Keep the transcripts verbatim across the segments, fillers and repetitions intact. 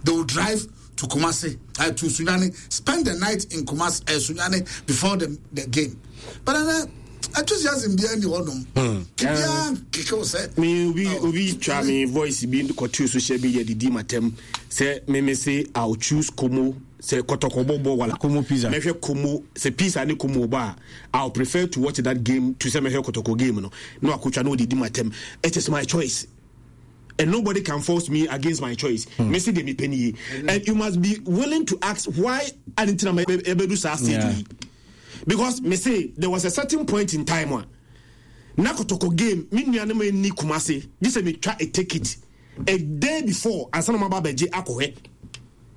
They will drive to Kumasi, uh, to Sunyani, spend the night in Kumasi, uh, Sunyani before the, the game. But then, uh, enthusiasm bi ɛni hɔnom. Biara keke o sɛ. Me obi obi twa me voice bi kɔtu social media didi matam sɛ me me say I'll choose Como sɛ Kɔtɔkɔ bɔbɔ wala Como Pizza. Mɛhwɛ Como sɛ Pizza ne Como ba a, I'll prefer to watch that game to sɛ mɛhwɛ Kɔtɔkɔ game no na wakotwa na ɔdidi matam. It is my choice and nobody can force me against my choice. Mm. Me say de me penny, and you must be willing to ask why I didn't know ebedu saa stage yi, because me say there was a certain point in time a na Kɔtɔkɔ game, me nuanom ani Kumase gye sɛ metwa a ticket a day before ansa na maba abɛgye akɔhwɛ.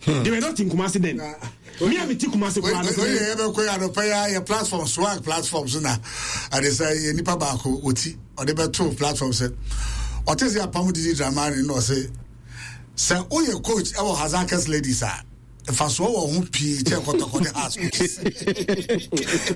They were not in Kumasi then. Me a mete Kumasi koraa no. Oye yɛ bɛ kɔ yɛ anɔpɛ yɛ yɛ platform, swag platform so na ade sɛ yɛ nipa baako oti ɔde bɛ to platform sɛ ɔte sɛ apam Didi Dramani na ɔsɛ sɛ oyɛ coach ɛwɔ Hasaacas Ladies a, mfasoɔ wɔ ho pii kyɛn Kɔtɔkɔ ne Hearts coaches.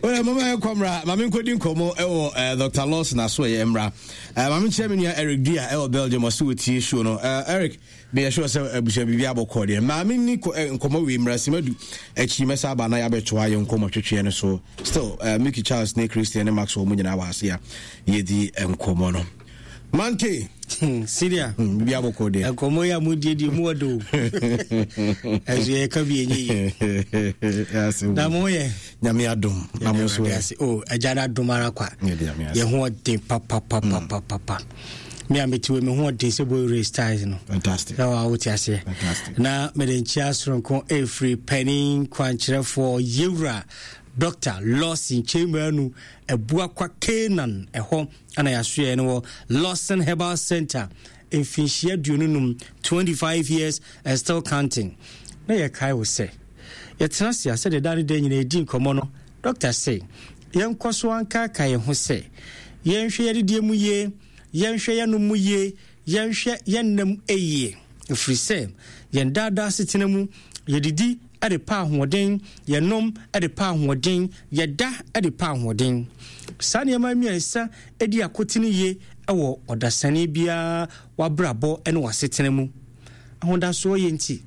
Wọ́n mama yɛ kɔ mmra, maame nkɔdi nkɔmmɔ ɛwɔ eh, Doctor Lawson aso ɛyɛ mmra. Eh, maame nkyerɛ me nua Eric Dua ɛwɔ Belgium, ɔsɛ wɔtie show no. Eh, Eric, meyɛ sure sɛ abusua biribi abɔkɔ deɛ. Maame ni nkɔmmɔ wei mmra simadu akyi, mɛsa aba na yɛabɛtoa yɛ nkɔmmɔ twetweɛ no so. Still uh, Mickey Charles ne Christian ne Maxwell mu nyinaa wɔ ase a yɛdi nkɔmmɔ no. Manke Syria. Hmm, biribi abɔkɔ deɛ. Nkɔmmɔ yi a modiedie mu ɔdo, ɛso yɛka bi ɛnyɛ yi na moyɛ. Nyame adom, na mo nso ɛ? O agya no adom ara kwa, yɛ ho ɔden papapapapapa. Me a mete wei, me ho ɔden sɛ boy race ties no. Fantastic. Na wa wote aseɛ. Fantastic. Na mede nkyia soronko ɛfiri panin kwankyerɛfoɔ yɛwura Doctor Lawson Kyemanu Abuakwa Canaan, ɛhɔ ana yɛasoɛ no wɔ Lawson Herbal Center, mfinhyia aduonu num, twenty-five years and still counting. Na yɛkae wo sɛ yɛtena ase a, sɛdeɛ da ne da nyina yɛdi nkɔmmɔ no, doctor sɛ yɛnkɔ so ankaaka yɛn ho sɛ yɛnhwɛ yɛdedeɛ mu yie, yɛnhwɛ yɛnom mu yie, yɛnhwɛ yɛnnam yie, ɛfiri sɛ yɛn daadaa setena mu yɛdidi de pa ahoɔden, yɛnom de pa ahoɔden, yɛda de pa ahoɔden. Saa nneɛma mmiɛnsa di akotene yie wɔ ɔdasani biara wabrabɔ ne wasetena mu. Ahodasoɔ yɛ nti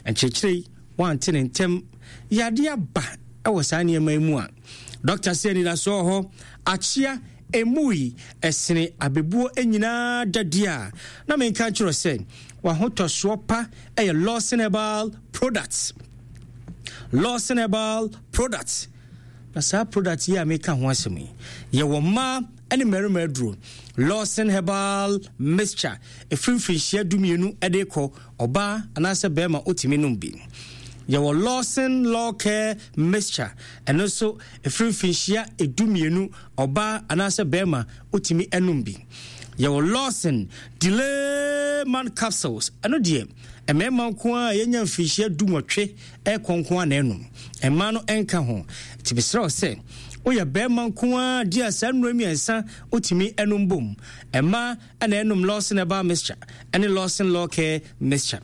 nkyerɛkyerɛ yi wante ne ntɛm yadeɛ aba wɔ saa nneɛma yi mu a, dɔkta sɛ anidasoɔ wɔ hɔ. Akyea emu yi ɛsene abɛbuo nyinaa dadeɛ a na menka nkyerɛ sɛ wahotɔsoɔ pa ɛyɛ Lawson Herbal Products, Lawson Herbal Products. Na saa product yi a meka ho asɛm yi, yɛwɔ mmaa ne mmarima aduro. Lawson Herbal Mixture ɛfiri mfirinhyia dumienu de kɔ, ɔbaa anaasɛ bɛrima wotumi nom bi. Yɛwɔ Lawson Law Care Mixture, ɛno nso ɛfiri mfinhyia edumienu, ɔbaa anaasɛ bɛrima wotumi nom bi. Yɛwɔ Lawson Delay Man Capsules, ɛno deɛ mmarima nko a yɛnya mfinhyia du nwɔtwe ɛkɔ nko a na ɛnom, mmaa no nka ho. Nti mesrɛ wo sɛ woyɛ bɛrima nko a di a, saa nnuro mmiɛnsa wotumi ɛnom bom. Mmaa ɛna ɛnom Lawson Herbal Mixture ɛne Lawson Law Care Mixture.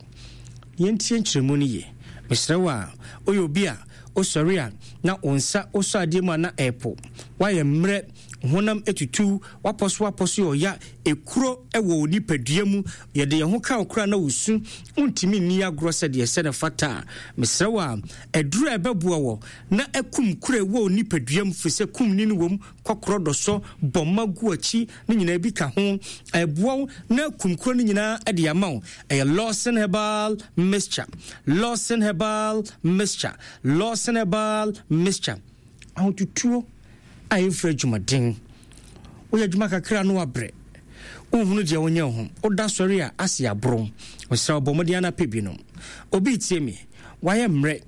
Yɛntie nkyerɛmu no yie. Mesrɛ wo a woyɛ obi a wosɔre a na wo nsa wosɔ adeɛ mu a na ɛɛpo, woayɛ mmerɛ, honam etutu, wapɔ so wapɔ so yɛ ɔya, ekuro ɛwɔ wo nipadua mu, yɛde yɛn ho ka wo koraa na wosu, wontumi nni agorɔ sɛdeɛ sɛ ne fata a, mesrɛ wo a aduru a ɛbɛboa wɔ na akum kuro ɛwɔ wo nipadua mu, firi sɛ kum ni no wɔ mu, kɔkorɔ dɔsɔ bɔmma gu akyi ne nyinaa bi ka ho, ɛboa wo na akum kuro no nyinaa de ama wo, ɛyɛ Lawson Herbal Mixture, Lawson Herbal Mixture, Lawson Herbal Mixture. Ahotutuo a ɛmfiri adwumaden, woyɛ adwuma kakra no wabrɛ, wohunu deɛ wonyɛ ho, woda sɔre a ase aboro, mesrɛ wo bɔ mmɔden ana pɛ bi nom. Obi tie me, wayɛ mmerɛ,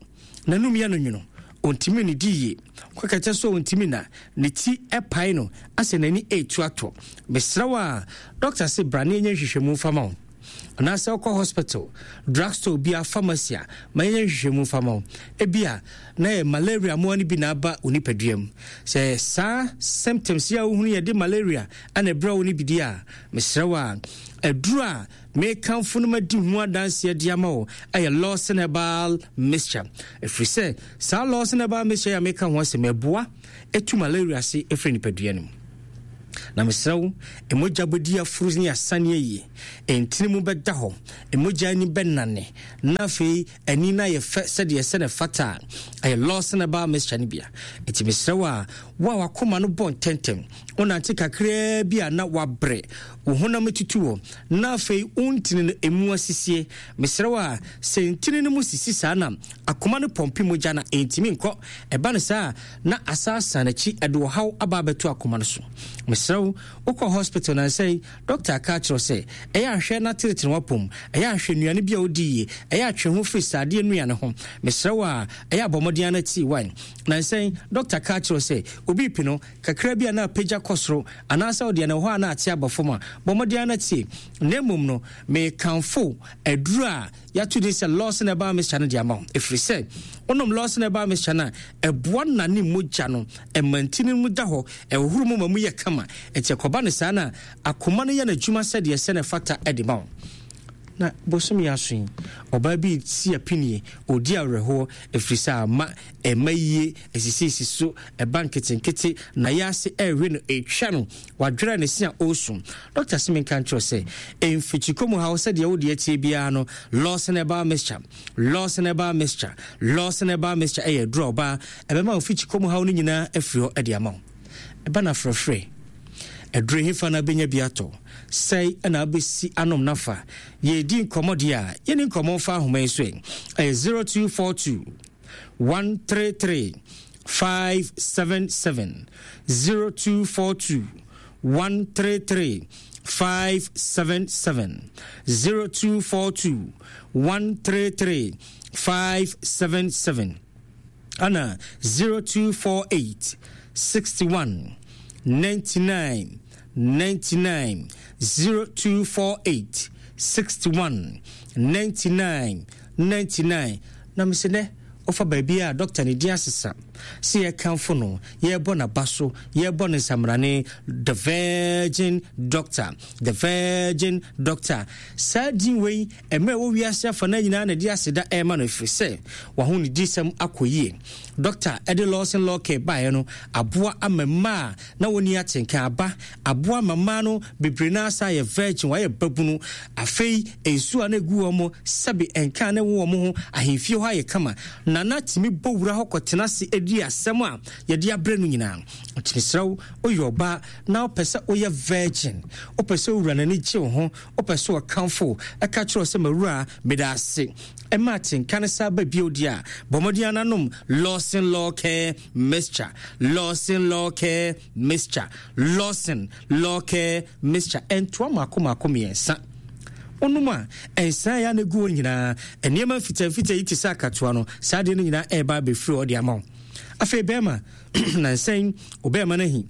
n'anum yɛ no nwono, ɔntumi ne di yie, kɔkɛtɛ so ɔntumi na ne ti ɛpae no asɛ n'ani ɛretu atɔ, mesrɛ wo a dɔkta se bra ne ɛnyɛ nhwehwɛmu mfa ma wo, anaasɛ wokɔ hospital, drugstore bia, pharmacy a, ma yɛnyɛ nhwehwɛmu mfa ma wo. Ebia na yɛ malaria mmoa no bi na aba wo nipadua mu. Sɛ saa symptoms yi a wohunu yɛde malaria ana ɛbrɛ wo no bi di a, mesrɛ wo a aduru a mekamfo no madi ho adanseɛ de ama wo ɛyɛ Lawson Herbal Mixture, ɛfiri sɛ saa Lawson Herbal Mixture a meka ho asɛm ɛboa ɛtu malaria ase ɛfiri nipadua no mu. Na mesrɛ wo, mogya bɛdi aforo ne asaneɛ yie, ntini mu bɛda hɔ, mogya ani bɛnane, na afei ani no ayɛ fɛ sɛdeɛ ɛsɛ ne fata a ɛyɛ Lawson Herbal Mixture no bia. Nti mesrɛ wo a, wo a wakoma no bɔ ntɛntɛm, wonante kakraa bi a na wabrɛ, wo honam tutu wɔ, na afei wo ntini no emu asisie. Mesrɛ wo a, sɛ ntini no mu sisi saa na akoma no pɔmpe mogya na ɛntumi nkɔ, ɛba no saa na asaasa n'akyi ɛde ɔhaw aba abɛto akoma no so. Mesrɛ wo, wokɔ hospital na nsɛn doctor aka akyerɛ sɛ ɛyɛ ahwɛ na tenetene wapom, ɛyɛ ahwɛ nnuane bi a wodi yie, ɛyɛ atwe ho firi saadeɛ nnuane ho. Mesrɛ wo a, ɛyɛ abɔmmɔden ana tii wine. Na nsɛn doctor ka akyerɛ sɛ obi pi no kakra bi a na apagya kɔ soro anaasɛ ɔdeɛ no hɔ a na ate aba fam a, bɔmmɔden ana tie. Na mmom no, mekamfo aduru a yɛato din sɛ Lawson Herbal Mixture no de ama wo, ɛfiri sɛ wonom Lawson Herbal Mixture no a, ɛboa nane mogya no, ɛma ntini mu da hɔ, ɛhohoro mu ma mu yɛ kama. Ɛnti ɛkɔba no saa na akoma no yɛ n'adwuma sɛdeɛ ɛsɛ na ɛfata de ma wo. Na bosom yɛ aso yi, ɔbaa bi si apinie, ɔdi awerɛhoɔ, ɛfiri sɛ ama ɛma yie, ɛsisiisi so, ɛba nketenkete, na yɛ ase ɛrewe no, ɛtwa no, wadwerɛ ne se a ɔresu. Dɔkta se menka nkyerɛ sɛ, mfikyikɔ mu haw sɛdeɛ wode atie biara no, Lawson Herbal Mixture, Lawson Herbal Mixture, Lawson Herbal Mixture ɛyɛ aduru a ɔbaa, ɛbɛma wo mfikyikɔ mu haw no nyinaa afiri hɔ de ama wo. Ɛba no afrɛfrɛ, aduru hefa na bɛnya bi atɔ, sɛe na abɛsi anom nafa. Yɛdi nkɔmmɔ deɛ a, yɛni nkɔmmɔ mfa ahoma yi so ɛ. Ɛyɛ zero two four two one three three five seven seven, zero two four two one three three five seven seven, zero two four two one three three five seven seven, ana zero two four eight sixty one ninety nine ninety nine, zero two four eight sixty one ninety nine ninety nine. Na mese nɛ ofa baabi a doctor ne din asesa sɛ yɛkamfo no, yɛbɔ n'aba so, yɛbɔ ne nsamrane, the Virgin Doctor, the Virgin Doctor. Saa din wei mmerɛ wɔ wiase afa na nyinaa na de aseda ɛrema no, ɛfiri sɛ waho ne disɛm akɔ yie. Doctor ɛde Lawson Law Care baeɛ no aboa ama mmaa na wɔni atenka aba, aboa ama mmaa no bebree no asa yɛ virgin, wɔayɛ babunu. Afei nsuo a na egu wɔn mo sɛbe nka ne wɔ wɔn ho, ahemfie hɔ ayɛ kama. Nana tumi bɔ wura hɔ kɔtena ase edi asɛm a yɛde abrɛ no nyinaa. Nti mesrɛ wo, woyɛ ɔbaa na wopɛ sɛ woyɛ virgin, wopɛ sɛ owura n'ani gye wo ho, wopɛ sɛ ɔkamfo ɛka kyerɛ wo sɛ mawura meda ase, ɛma atenka no saa ba bio deɛ a, bɔ mmɔden ananom Lawson Law Care Mixture, Lawson Law Care Mixture, Lawson Law Care Mixture. Ɛntoa mako mako mmiɛnsa. Wonom a, ɛnsan ya na egu hɔ nyinaa. Nneɛma mfitamfita yi te sɛ akatoa no, saa adeɛ no nyinaa ɛreba abɛfiri hɔ de ama wo. Afei bɛrima, nansɛn, ɔbɛrima no ahi,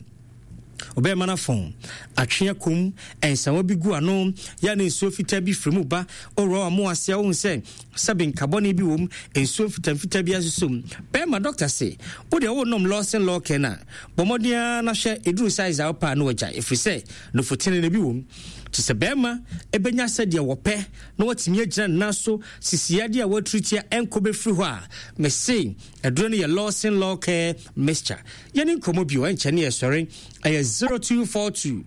ɔbɛrima no afɔn, atwe akom, nsawa bi gu ano, ya ne nsuo fitaa bi firi mu ba, ɔwura wa mo ase a wohu sɛ sɛbe nkabɔne bi wom, nsuo mfitamfita bi asosɔ mu. Bɛrima, dɔkta se, wo deɛ wonom Lawson Law Care no a, bɔ mmɔden ara na hwɛ ɛduru size a wopɛ a na wagya, ɛfiri sɛ nofotene no bi wom. Te sɛ bɛrima ɛbɛnya sɛdeɛ wɔpɛ na watumi agyina ne nan so, sisiadeɛ a watiritia ɛnkɔ bɛfiri hɔ a, mese aduro no yɛ Lawson Law Care Mixture. Yɛne nkɔmmɔ bio ɛnkyɛ ne yɛsɔre. Ɛyɛ zero two four two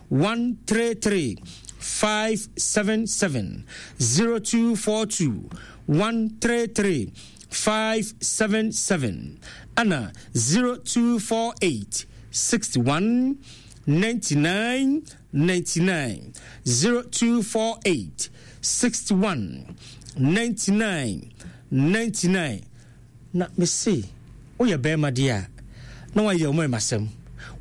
one three three five seven seven, zero two four two one three three five seven seven, ana zero two four eight sixty one ninety nine ninety nine, zero two four eight sixty one ninety nine ninety nine. Na mese woyɛ bɛrima deɛ a, na wayɛ wo mmarima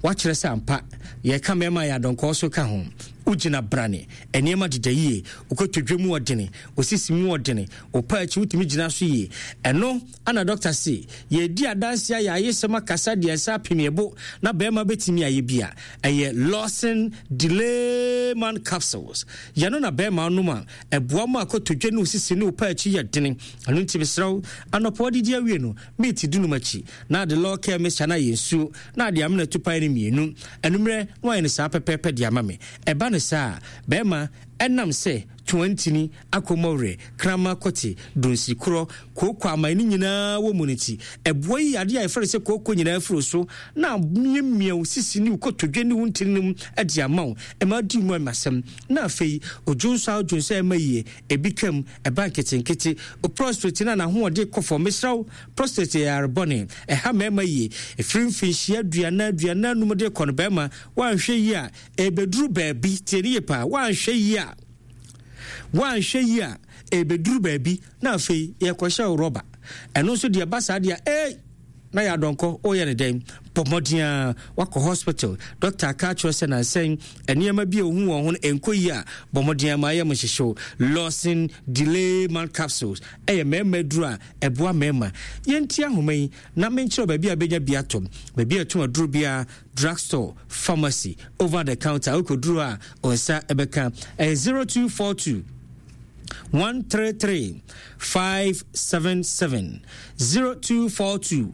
wakyerɛ sɛ ampa yɛka mmarima yɛ adɔnkɔɔ so ka ho. Wogyina brane, nneɛma deda yie, wokɔtɔ mu ɔdene, osisi mu ɔdene, wopa akyi wotumi gyina so yie. Ɛno ana dɔkta se yɛdi adanse a yɛayɛ sɛm akasa deɛ nsa apem yɛbo na bɛrima bɛtumi ayɛ bi a, ɛyɛ Lawson Delayman Capsules. Yɛno na bɛrima nom a ɛboa mu akɔtɔdwa ne osisi ne wopa akyi yɛ dene. Ɛno nti mesrɛ wo, anɔpa wadidi awie no, meeti dunum akyi na ade Law Care Mixture no ayɛ nsuo na ade amena tupae no mmienu. Anummerɛ na wayɛ no saa pɛpɛɛpɛ de ama me. Ɛba no saa a, bɛrima ɛnam sɛ Toantini, akɔmmɔwerɛ, krama kɔte, dunsi korɔ, kooko aman ne nyinaa wɔ mu no nti, ɛboa yi adeɛ a yɛfrɛ no sɛ kooko nyinaa firi so na amiamia wo sisi ne wo kotodwe ne wo ntini no mu de ama wo. Ɛma di mu amasɛm. Na afei, odwonso a odwonso a ɛma yie, ebi kam, ɛba nketenkete. O prostate no a n'ahoɔden kɔ fam, mesrɛ wo, prostate yɛ yare bɔne. Ɛha mmarima yie. Ɛfiri mfinhyia aduanan, aduanan num de kɔ no, barima, woanhwɛ yie a, ɛbɛduru baabi, tie ne yie paa, woanhwɛ yie a, woanhwɛ yie a, ɛbɛduru baabi na afei yɛkɔhyɛ wo rɔba. Ɛno nso deɛ ɛba saa deɛ, ee, na yɛ adɔnkɔ, woyɛ ne dɛn? Bɔ mmɔden a wakɔ hospital, doctor aka akyerɛ sɛ nansɛn nneɛma bi a ohu wɔn ho no ɛnkɔ yie a, bɔ mmɔden ama ayɛ mo nhyehyew. Lawson Delay Man Capsules ɛyɛ mmarima aduro a ɛboa mmarima. Yɛnti ahoma yi na menkyerɛ baabi a bɛnya bi atɔ, baabi a ɛtɔn aduro biara, drugstore, pharmacy, over the counter, wokɔduro a ɔnsa ɛbɛka. Ɛyɛ zero two four two one three three five seven seven zero two four two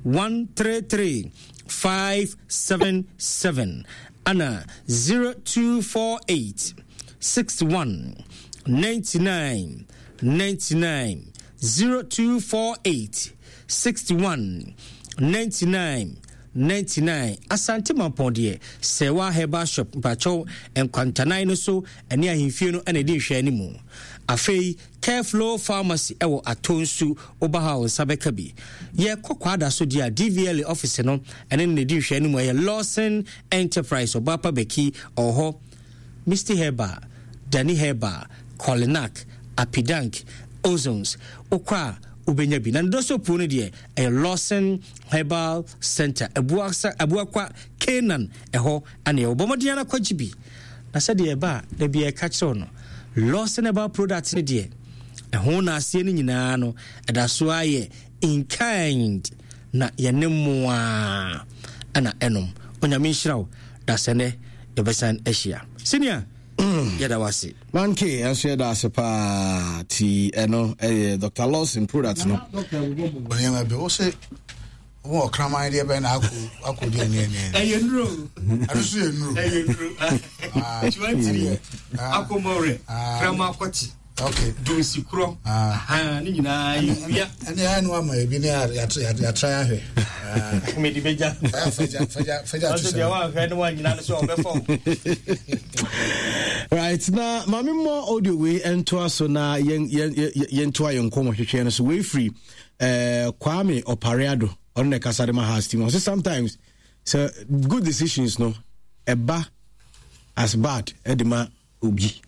one three three five seven seven ana zero two four eight six one ninety nine ninety nine zero two four eight sixty one ninety nine ninety nine. Asante Mampɔn deɛ, Sɛwa Herbal Shop, mpakyɛw, nkwantanan no so ɛne ahemfie no ɛna ɛdi nhwɛ anim. Afei Careflow Pharmacy ɛwɔ Atonsu, woba ha a wo nsa bɛka bi. Yɛkɔ Kwada so deɛ a, D V L A office no ɛne no na ɛdi nhwɛ anim. Ɛyɛ Lawson Enterprise, Ɔbaapa Bɛki ɔwɔ hɔ. Misty Herbal, Dani Herbal, Kolinak, Apidank, Ozones, wokɔ a wobɛnya bi. Na ne dɔsɔ puo no deɛ ɛyɛ Lawson Herbal Center, Abuasa, Abuakwa, Canaan, ɛhɔ ana ɛwɔ. Bɔ mmɔden ara kɔgye bi. Na sɛdeɛ ɛba a, da bi ɛka kyerɛw no, Lawson Herbal product no deɛ, ɛho na aseɛ no nyinaa no, ɛda so ayɛ in kind, na yɛne mmoa ɛna ɛnom. Onyame nhyira wo, da sɛ nɛ yɛbɛsan ahyia. Senior, yɛda wo ase. Manke ɛnso yɛda ase paa. Ti ɛno ɛyɛ Doctor Lawson product no. Nneɛma bi wo se wo ɔkraman deɛ bɛn na akɔ akɔ deɛ ne ne. Ɛyɛ nnuro. Ɛno so yɛ nnuro. Ɛyɛ nnuro. Tiwantiri akɔmɔrɛ kraman akɔkye. Okay. Dunsi korɔ. Ah. Ne nyinaa yɛ wia. Ɛne ayɛ no ama ebi ne yɛatra ahwɛ. Mede bɛgya. Fagya fagya fagya to sɛ. Deɛ wanhwɛ ne wanyina no sɛ ɔbɛfa wo. Right, na maame mmɔ audio wei ntoa so na yɛn yɛn yɛntoa yɛn nkɔmmɔ hwehwɛ no so. Wei firi eh, Kwame Opareado, ɔno na ɛkasa de ma house team. Ɔsɛ sometimes sɛ good decisions no ɛba as bad ɛde ma obi.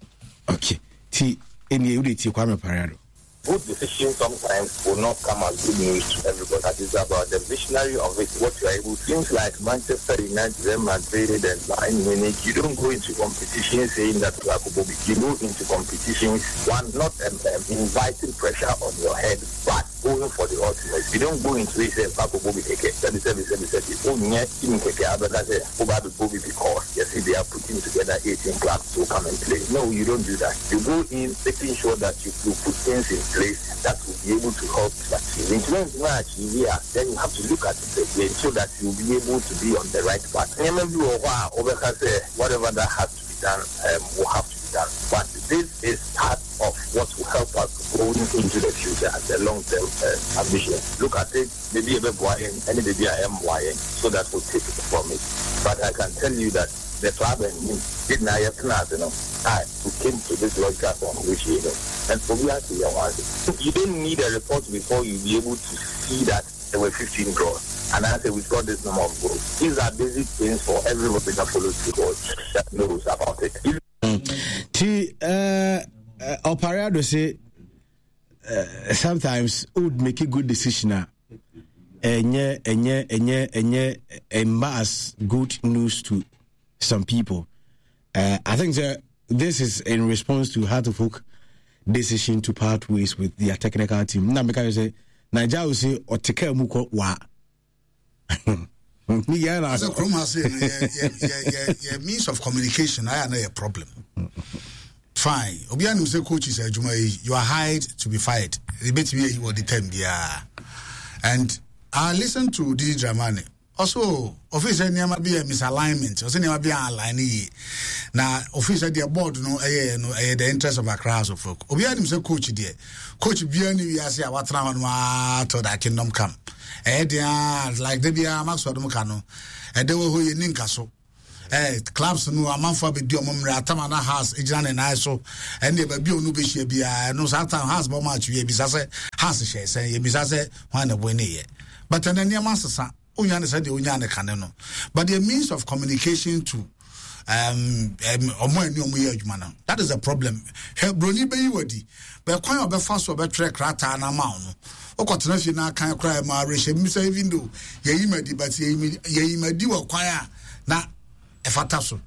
Okay, ti ɛnie wode tie Kwame Opareado. Good decisions sometimes will not come as good news to everybody. That is about the visionary of it, what you are able to. Seems like Manchester United, Real Madrid, and Bayern Munich, you don't go into competition saying that you are Bobby. You go into competitions, one, not, um, um, inviting pressure on your head, but going for the ultimate. You don't go into it saying, Paco Bobby Keke, seven, seven, seven, seven. Oh, yeah, Team Keke, Abeka say, Bobby Bobby, because yes, they are putting together eighteen clubs to come and play. No, you don't do that. You go in making sure that you, you put things in place that will be able to help to achieve. In terms of achieve here, then you have to look at it again so that you'll be able to be on the right path. Whatever that has to be done, um, will have to be done. But this is part of what will help us going into the future as a long-term, uh, ambition. Look at it, maybe a bit and maybe I am why, so that will take it from it. But I can tell you that the club and him did not yet know, you know, I who came to this logical conclusion, you know, and for we are to hear one. You don't need a report before you be able to see that there were fifteen draws. And I say we've got this number of goals. These are basic things for everybody that follows football that knows about it. T, uh, uh, Opareado say, uh, sometimes would make a good decision. Enye, enye, enye, enye, enye as good news to some people. Uh, I think that this is in response to Hearts of Oak decision to part ways with their technical team. Now, because say Nigeria will say Oteka Muko wa. Yeah, so Chrome has yeah, yeah, yeah, yeah, yeah, means of communication. I know a problem. Fine. Obi anu say coach is a juma. You are hired to be fired. They bet me you the time yeah. And I listened to Didi Dramani. Ɔso office nneɛma bi yɛ misalignment, ɔsɛ nneɛma bi yɛ align yie na office deɛ board no ɛyɛ no ɛyɛ the interest of Accra House of Folk. Obiara nim sɛ coach deɛ, coach biara ni wiase a watena hɔ no aa till that kingdom come. Ɛyɛ deɛ like de biara Maxwell dom ka no, ɛdɛ wɔ hɔ yɛ ni nka so. Eh, clubs no amanfo abɛdi ɔmo mmerɛ atama na house egyina ne nan so, ɛne baabi a ɔno bɛhyia biara ɛno saa time house bɔ match wie, ebisa sɛ house hyɛ sɛn, ebisa sɛ hwan na ɛbɔ ne yɛ. But ɛnɛ nneɛma asesa, onya ne sɛ deɛ onya ne kane no, but the means of communication to um ɔmo ani ɔmo yɛ adwuma no, that is the problem. Hwɛ, broni bɛyi wadi bɛ kwan a ɔbɛfa so ɔbɛtwerɛ krataa na ama wo no, wokɔtena fie na akan koraa ma awerɛhyɛ mu sɛ even though yɛyi ma di, but yɛyi ma di wɔ kwan a na ɛfata so.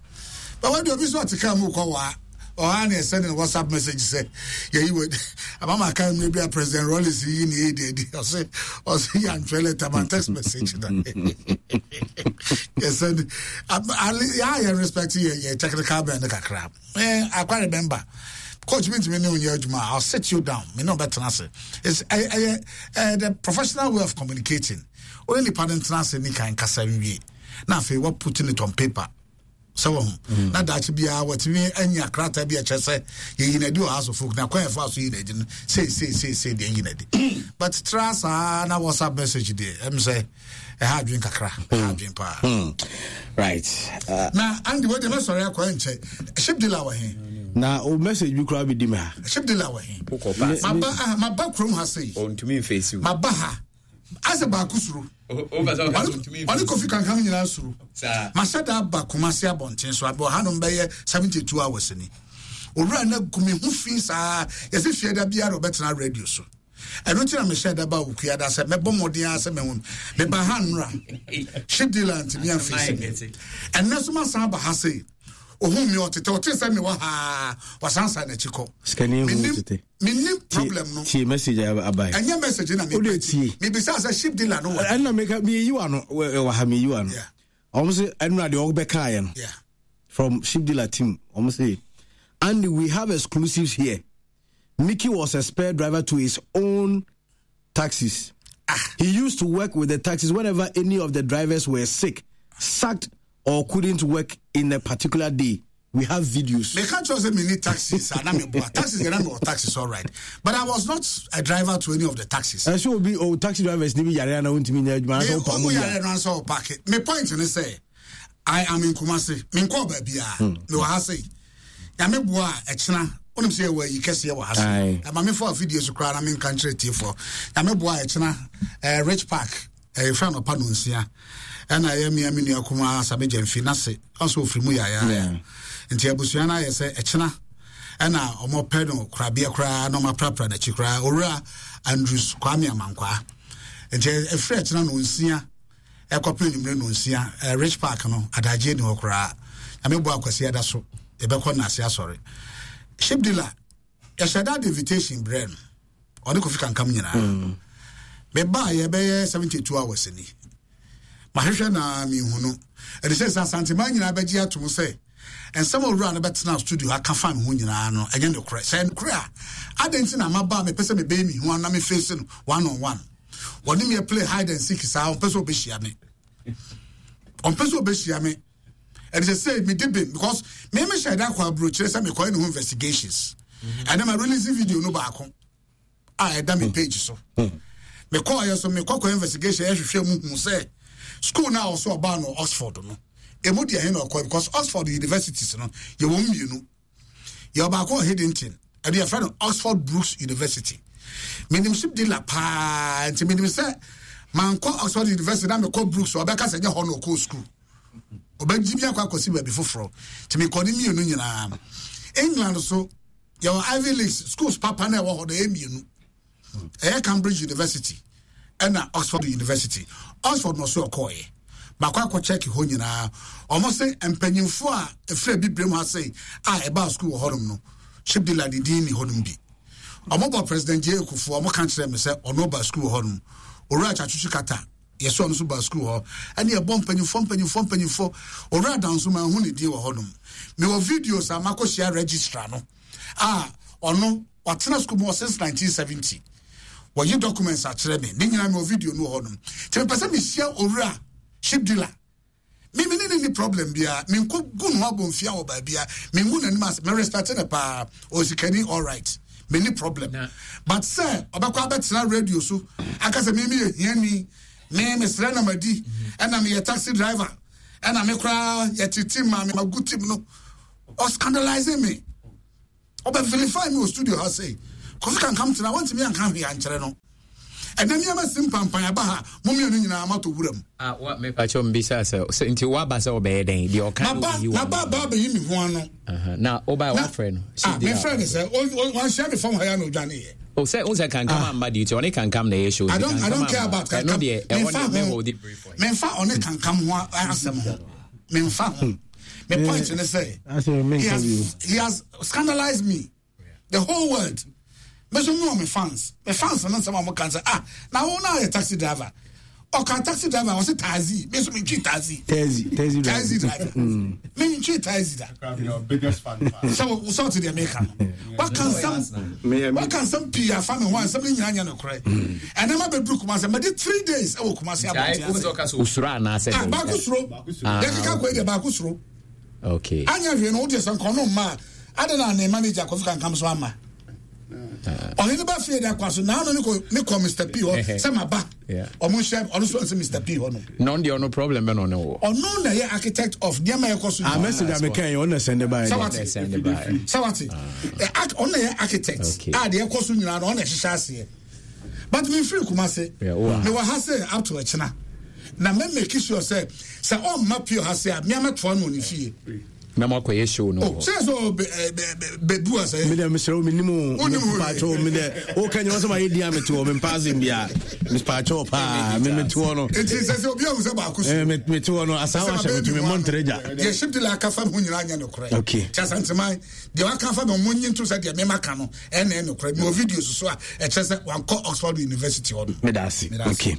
But wɔde obi so ɔte kaa mu kɔ waa ɔha na ɛsɛ ne WhatsApp message sɛ yɛyi wɔ amama kan mmerɛ bi a President Rawlings yi ne yɛ di adi, ɔsɛ ɔsɛ yɛ antwerɛ letter ma text message na yɛsɛ ne yɛ yɛ respect yɛ yɛ technical man no kakra. eh I quite remember coach mi ntumi ne onyɛ adwuma, I'll sit you down, me ne ɔbɛtena ase. It's ɛyɛ ɛyɛ the professional way of communicating. Only nipa no ntena ase ni kan kasa nwie na afei wɔ putting it on paper sɛ wɔ ho na daakye biara wɔtumi anya krataa bi a ɛkyerɛ sɛ yɛyi n'adi wɔ House of Folk na kwan yɛfa so yi n'adi no sei sei sei sei deɛ yi n'adi. But tra saa na WhatsApp message deɛ, ɛm sɛ ɛha adwen kakra, ɛha adwen paa. Right. uh, na Andy, wɔde mɛsɔre akɔ nkyɛ ship dealer wɔ he? Na o message bi koraa bi di me ha. Ship dealer wɔ he? Maba ah, maba kurom ha sei. Ɔntumi mfeesi o. Maba ha asɛ baako suro, ɔne Kofi Kankam nyinaa suro. Mahyɛ da aba Kumase abɔnten so abɛ ɔhanom bɛyɛ seventy two hours ni. Owura no agu me ho fi saa, yɛsɛ fie da biara ɔbɛtena radio so. Ɛno nti na mehyɛ da ba Okua da sɛ mɛbɔ mmɔden ara sɛ mɛhu no. Meba ha nnora, ship dealer ntumi amfeesi me. Ɛnnɛ so masan aba ha sei, ohun mi ɔtete ɔte sɛ mewɔ ha, wasan san n'akyi kɔ. Sikani hu tete. Menim problem no. Tie message abae. Ɛnyɛ message na. Wode tie. Mebisa sɛ ship dealer no wɔ? Ɛnna meka meyi wa no wɔ ha, meyi wa no. Ɔmo sɛ ɛnura deɛ ɔbɛkaeɛ no from ship dealer team, ɔmo sɛ, "Andy, we have exclusives here. Mickey was a spare driver to his own taxis. Ah. He used to work with the taxis whenever any of the drivers were sick, sacked, or couldn't work in a particular day. We have videos." They can't just say me need taxis. And I'm a taxis, and I'm taxis, all right. But I was not a driver to any of the taxis. And so be oh taxi drivers ni bi yare na wontumi nya adwuma so pa mu. Yare na so park. Me point ne say I am in Kumasi. Me nkɔ ba bia. Me wɔ ha sei. Ya me boa e kyena. Wonim sɛ yɛwɔ ayi kɛseɛ wɔ ha so. Ɛma me fa afidie so koraa na menka nkyerɛ tiefoɔ. Ya me boa e kyena eh, Rich Park ɛyɛ anɔpa no nsia ɛna ɛyɛ mmea me nua kumaa Same Gyamfi n'ase ɔnso ofiri mu yaayaa, nti abusua no ayɛ sɛ ɛkyena ɛna ɔmo pɛ no korabea koraa na ɔmo aprapra n'akyi koraa, Owura Andrews Kwame Amankwaa. Nti ɛfiri ɛkyena no nsia ɛkɔpem nwumire no nsia, Rich Park no adagye ni hɔ koraa. Nyame bɔ akwasi ada so yɛbɛkɔ n'ase asɔre. Ship dealer, yɛhyɛ da de invitation brɛ no, ɔne Kofi Kankam nyinaa. Mm. Mebaa yɛbɛyɛ seventy two hours ni, mahwehwɛ na mehu no. Ɛde sɛ sɛ Asanteman nyinaa bɛgye atom sɛ nsɛm a owura no bɛtena studio aka fa me ho nyinaa no ɛnyɛ nokorɛ. Sɛ nokorɛ a, adɛn nti na maba a mepɛ sɛ mebɛyɛ me hu na meface no one on one, wɔne me play hide and seek saa? Ɔmpɛ sɛ ɔbɛhyia me, ɔmpɛ sɛ ɔbɛhyia me. Ɛde sɛ sɛ mede bem because me mehyɛ da kɔ aburokyerɛ sɛ mekɔyɛ ne ho investigations. Ɛnɛ ma release video no baako a ɛda me page so. Mekɔɔyɛ so mekɔkɔ investigation, ɛhwehwɛ mu hu sɛ school no a ɔso ɔbaa no Oxford no, ɛmu deɛ he na ɔkɔ, because Oxford universities no yɛwɔ mmienu. Yɛwɔ baako wɔ Headington, ɛde yɛfrɛ no Oxford Brooks University. Menim ship dealer paa, nti menim sɛ mankɔ Oxford University na mekɔ Brooks, ɔbɛka sɛ nyɛ hɔ na ɔkɔɔ school, ɔbɛgye mi akɔ akɔsi baabi foforɔ. Nti mekɔ ne mmienu nyinaa. England so yɛwɔ Ivy Leagues schools papa na ɛwɔ hɔ no ɛyɛ mmienu, ɛyɛ Cambridge University ɛna Oxford University. Oxford na ɔso ɔkɔɔyɛ. Baako akɔ check hɔ nyinaa, ɔmo se mpanyinfoɔ a efiri abibire mu ha sei a ɛbaa school wɔ hɔnom no, ship dealer de din ni hɔnom bi. Ɔmo bɔ President J A Kufuor, ɔmo ka kyerɛ me sɛ ɔno ba school wɔ hɔnom. Owura Tsatsu Tsikata, yɛsɛ ɔno nso ba school hɔ. Ɛne ɛbɔ mpanyinfoɔ mpanyinfoɔ mpanyinfoɔ. Owura Danso, maa hu ne din wɔ hɔnom. Mewɔ videos a makɔhyia registrar no a ɔno watena school mu wɔ since nineteen seventy, wɔyi documents akyerɛ me ne nyinaa. Mewɔ video no wɔ hɔnom, nti mepɛ sɛ mehyia owura Ship dealer. Me me ne ni problem bia. Me nko gu no abomfia wɔ ba bia. Me ngu n'anim ase. Me respect ne paa. Osikani all right. Me ni problem. Na. But sir, obekɔ abɛtena radio so. Aka sɛ me me yɛ hiani. Me me srɛ na madi. Ɛna me yɛ taxi driver. Ɛna me koraa yɛte team ma me magu team no. Or scandalizing me. Ɔbɛ vilify me wɔ studio ha sei. Kofi Kankam tena wɔntumi anka hwee ankyerɛ no. Ɛnɛ nneɛma si mpampan aba ha mo mmienu nyinaa matɔ wura mu. Ah, wa mepakyɛ mbisa sɛ sɛ nti woaba sɛ wobɛyɛ dɛn deɛ ɔka no Maba woyi maba wa ba abɛyi me ho ano. Aha, na wobae Na- woafrɛ no Ah, mefrɛ ne sɛ o- o- wanhyia me fam ha ya na odwaneeɛ. o sɛ wo sɛ Kankam amma duty, ɔne Kankam na ɛyɛ show. I nti don't I Kankam don't care amma. about Ɛno Kankam. deɛ ɛhɔ Memfa ne ho. mɛhold it brief for him. Memfa ɔne Kankam ho a- asɛm ho. Memfa ho. Me point ne sɛ Asɛ he menka bio. has he has scandalized me. The whole world. Me so me wɔ me fans. Me fans no nsɛm a mo kan sɛ, ah, na wo na yɛ taxi driver. Ɔka taxi driver ɔsɛ taxi. Me so me ntwi taxi. Taxi, taxi driver. Taxi driver. Me ntwi taxi da. Your biggest fan. Sɛ wo sɛ ɔte deɛ meka no. Waka nsɛm waka nsɛm pii afa me ho a nsɛm no nyinaa nyɛ nokorɛ. Ɛnɛ ma bɛduru Kumase mɛde three days ɛwɔ Kumase Gyae, abɔnten wo sɛ ase. ɔka sɛ osuro anaasɛ Ah, dɛn? baako suro. Ah, Yɛkeka kɔ yi deɛ baako suro. Okay. Anya hwee no wodeɛ sɛ nkɔno mma a ade na ne manager Kofi Kankam so ama. Ɔhene ba fie de akwa so naano ne kɔ ne kɔ Mister P hɔ sɛ maba. Yeah. Ɔmo nhyɛ ɔno so ɔnsɛ Mister P hɔ no. Na ɔno deɛ ɔno problem bɛ na ɔne wɔ. Ɔno na ɛyɛ architect of nneɛma a ɛkɔ so Ah, nyinaa. message a meka yi, ɔno na send baeɛ. Sɛ wate. Ɔno na send baeɛ. Sɛ wate. Ɛ, arch- ɔno na ɛyɛ architect. Okay. A deɛ ɛkɔ so nyinaa no ɔno na ɛhyehyɛ aseɛ. But me firi Kumase. Yeah, wo a. Mewɔ ha sɛ up to ɛkyena. Na me make sure sɛ sɛ ɔmma pure ha sɛ a me amɛtoa no wɔ ne fie. Na mo akɔyɛ show no Oh, wɔ. sɛ sɛ ɔbɛ- ɛ, bɛ- bɛ- bɛdu a sɛ. Me dɛ mesrɛ wo menim o. Wonim o. Mepaakyɛ wo, me dɛ woka nyɛ wo sɛ mayɛ din a mete hɔ, mempa asɛm biara. Mepaakyɛ wo paa, me mete hɔ no. Nti sɛ sɛ obi ahu sɛ baako so. Eh, me- mete hɔ no, asaa Sɛ wahyɛ ma me to me baabi ho mmɔ ntere gya. ano. Deɛ ship dealer aka fa me ho nyinaa nyɛ nokorɛ. Okay. Nti Asanteman, deɛ waka fa me ho, monyi nto sɛ deɛ mema ka no, ɛna ɛyɛ nokorɛ. Mewɔ videos so a ɛkyerɛ sɛ wankɔ Oxford University hɔ no. Meda ase. Meda ase. Okay.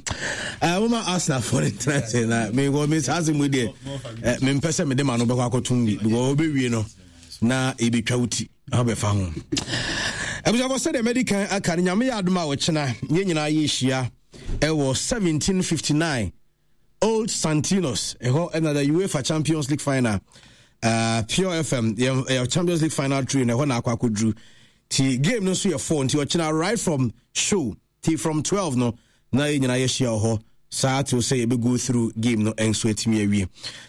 Eh, moma Arsenal foɔ no ntena ase na mekɔ me saa asɛm yi deɛ, eh, mempɛ sɛ mede ma no bɛkɔ akɔtom bi, because wobɛwie no na ɛbɛtwa wo ti na wobɛfa ho. Abusuafo, sɛdeɛ madi kan aka no, Nyame yɛ adom a wɔkyena yɛn nyinaa yɛhyia ɛwɔ seventeen fifty-nine Old Santinos ɛhɔ ɛna the UEFA Champions League final, uh, Pure F M yɛ, yɛ Champions League final train ɛhɔ na akɔ akɔduru. Ti game no nso yɛ four, nti ɔkyena right from show ti from twelve no na yɛn nyinaa yɛhyia wɔ hɔ saa till sɛ yɛbɛ go through game no nso atumi awie.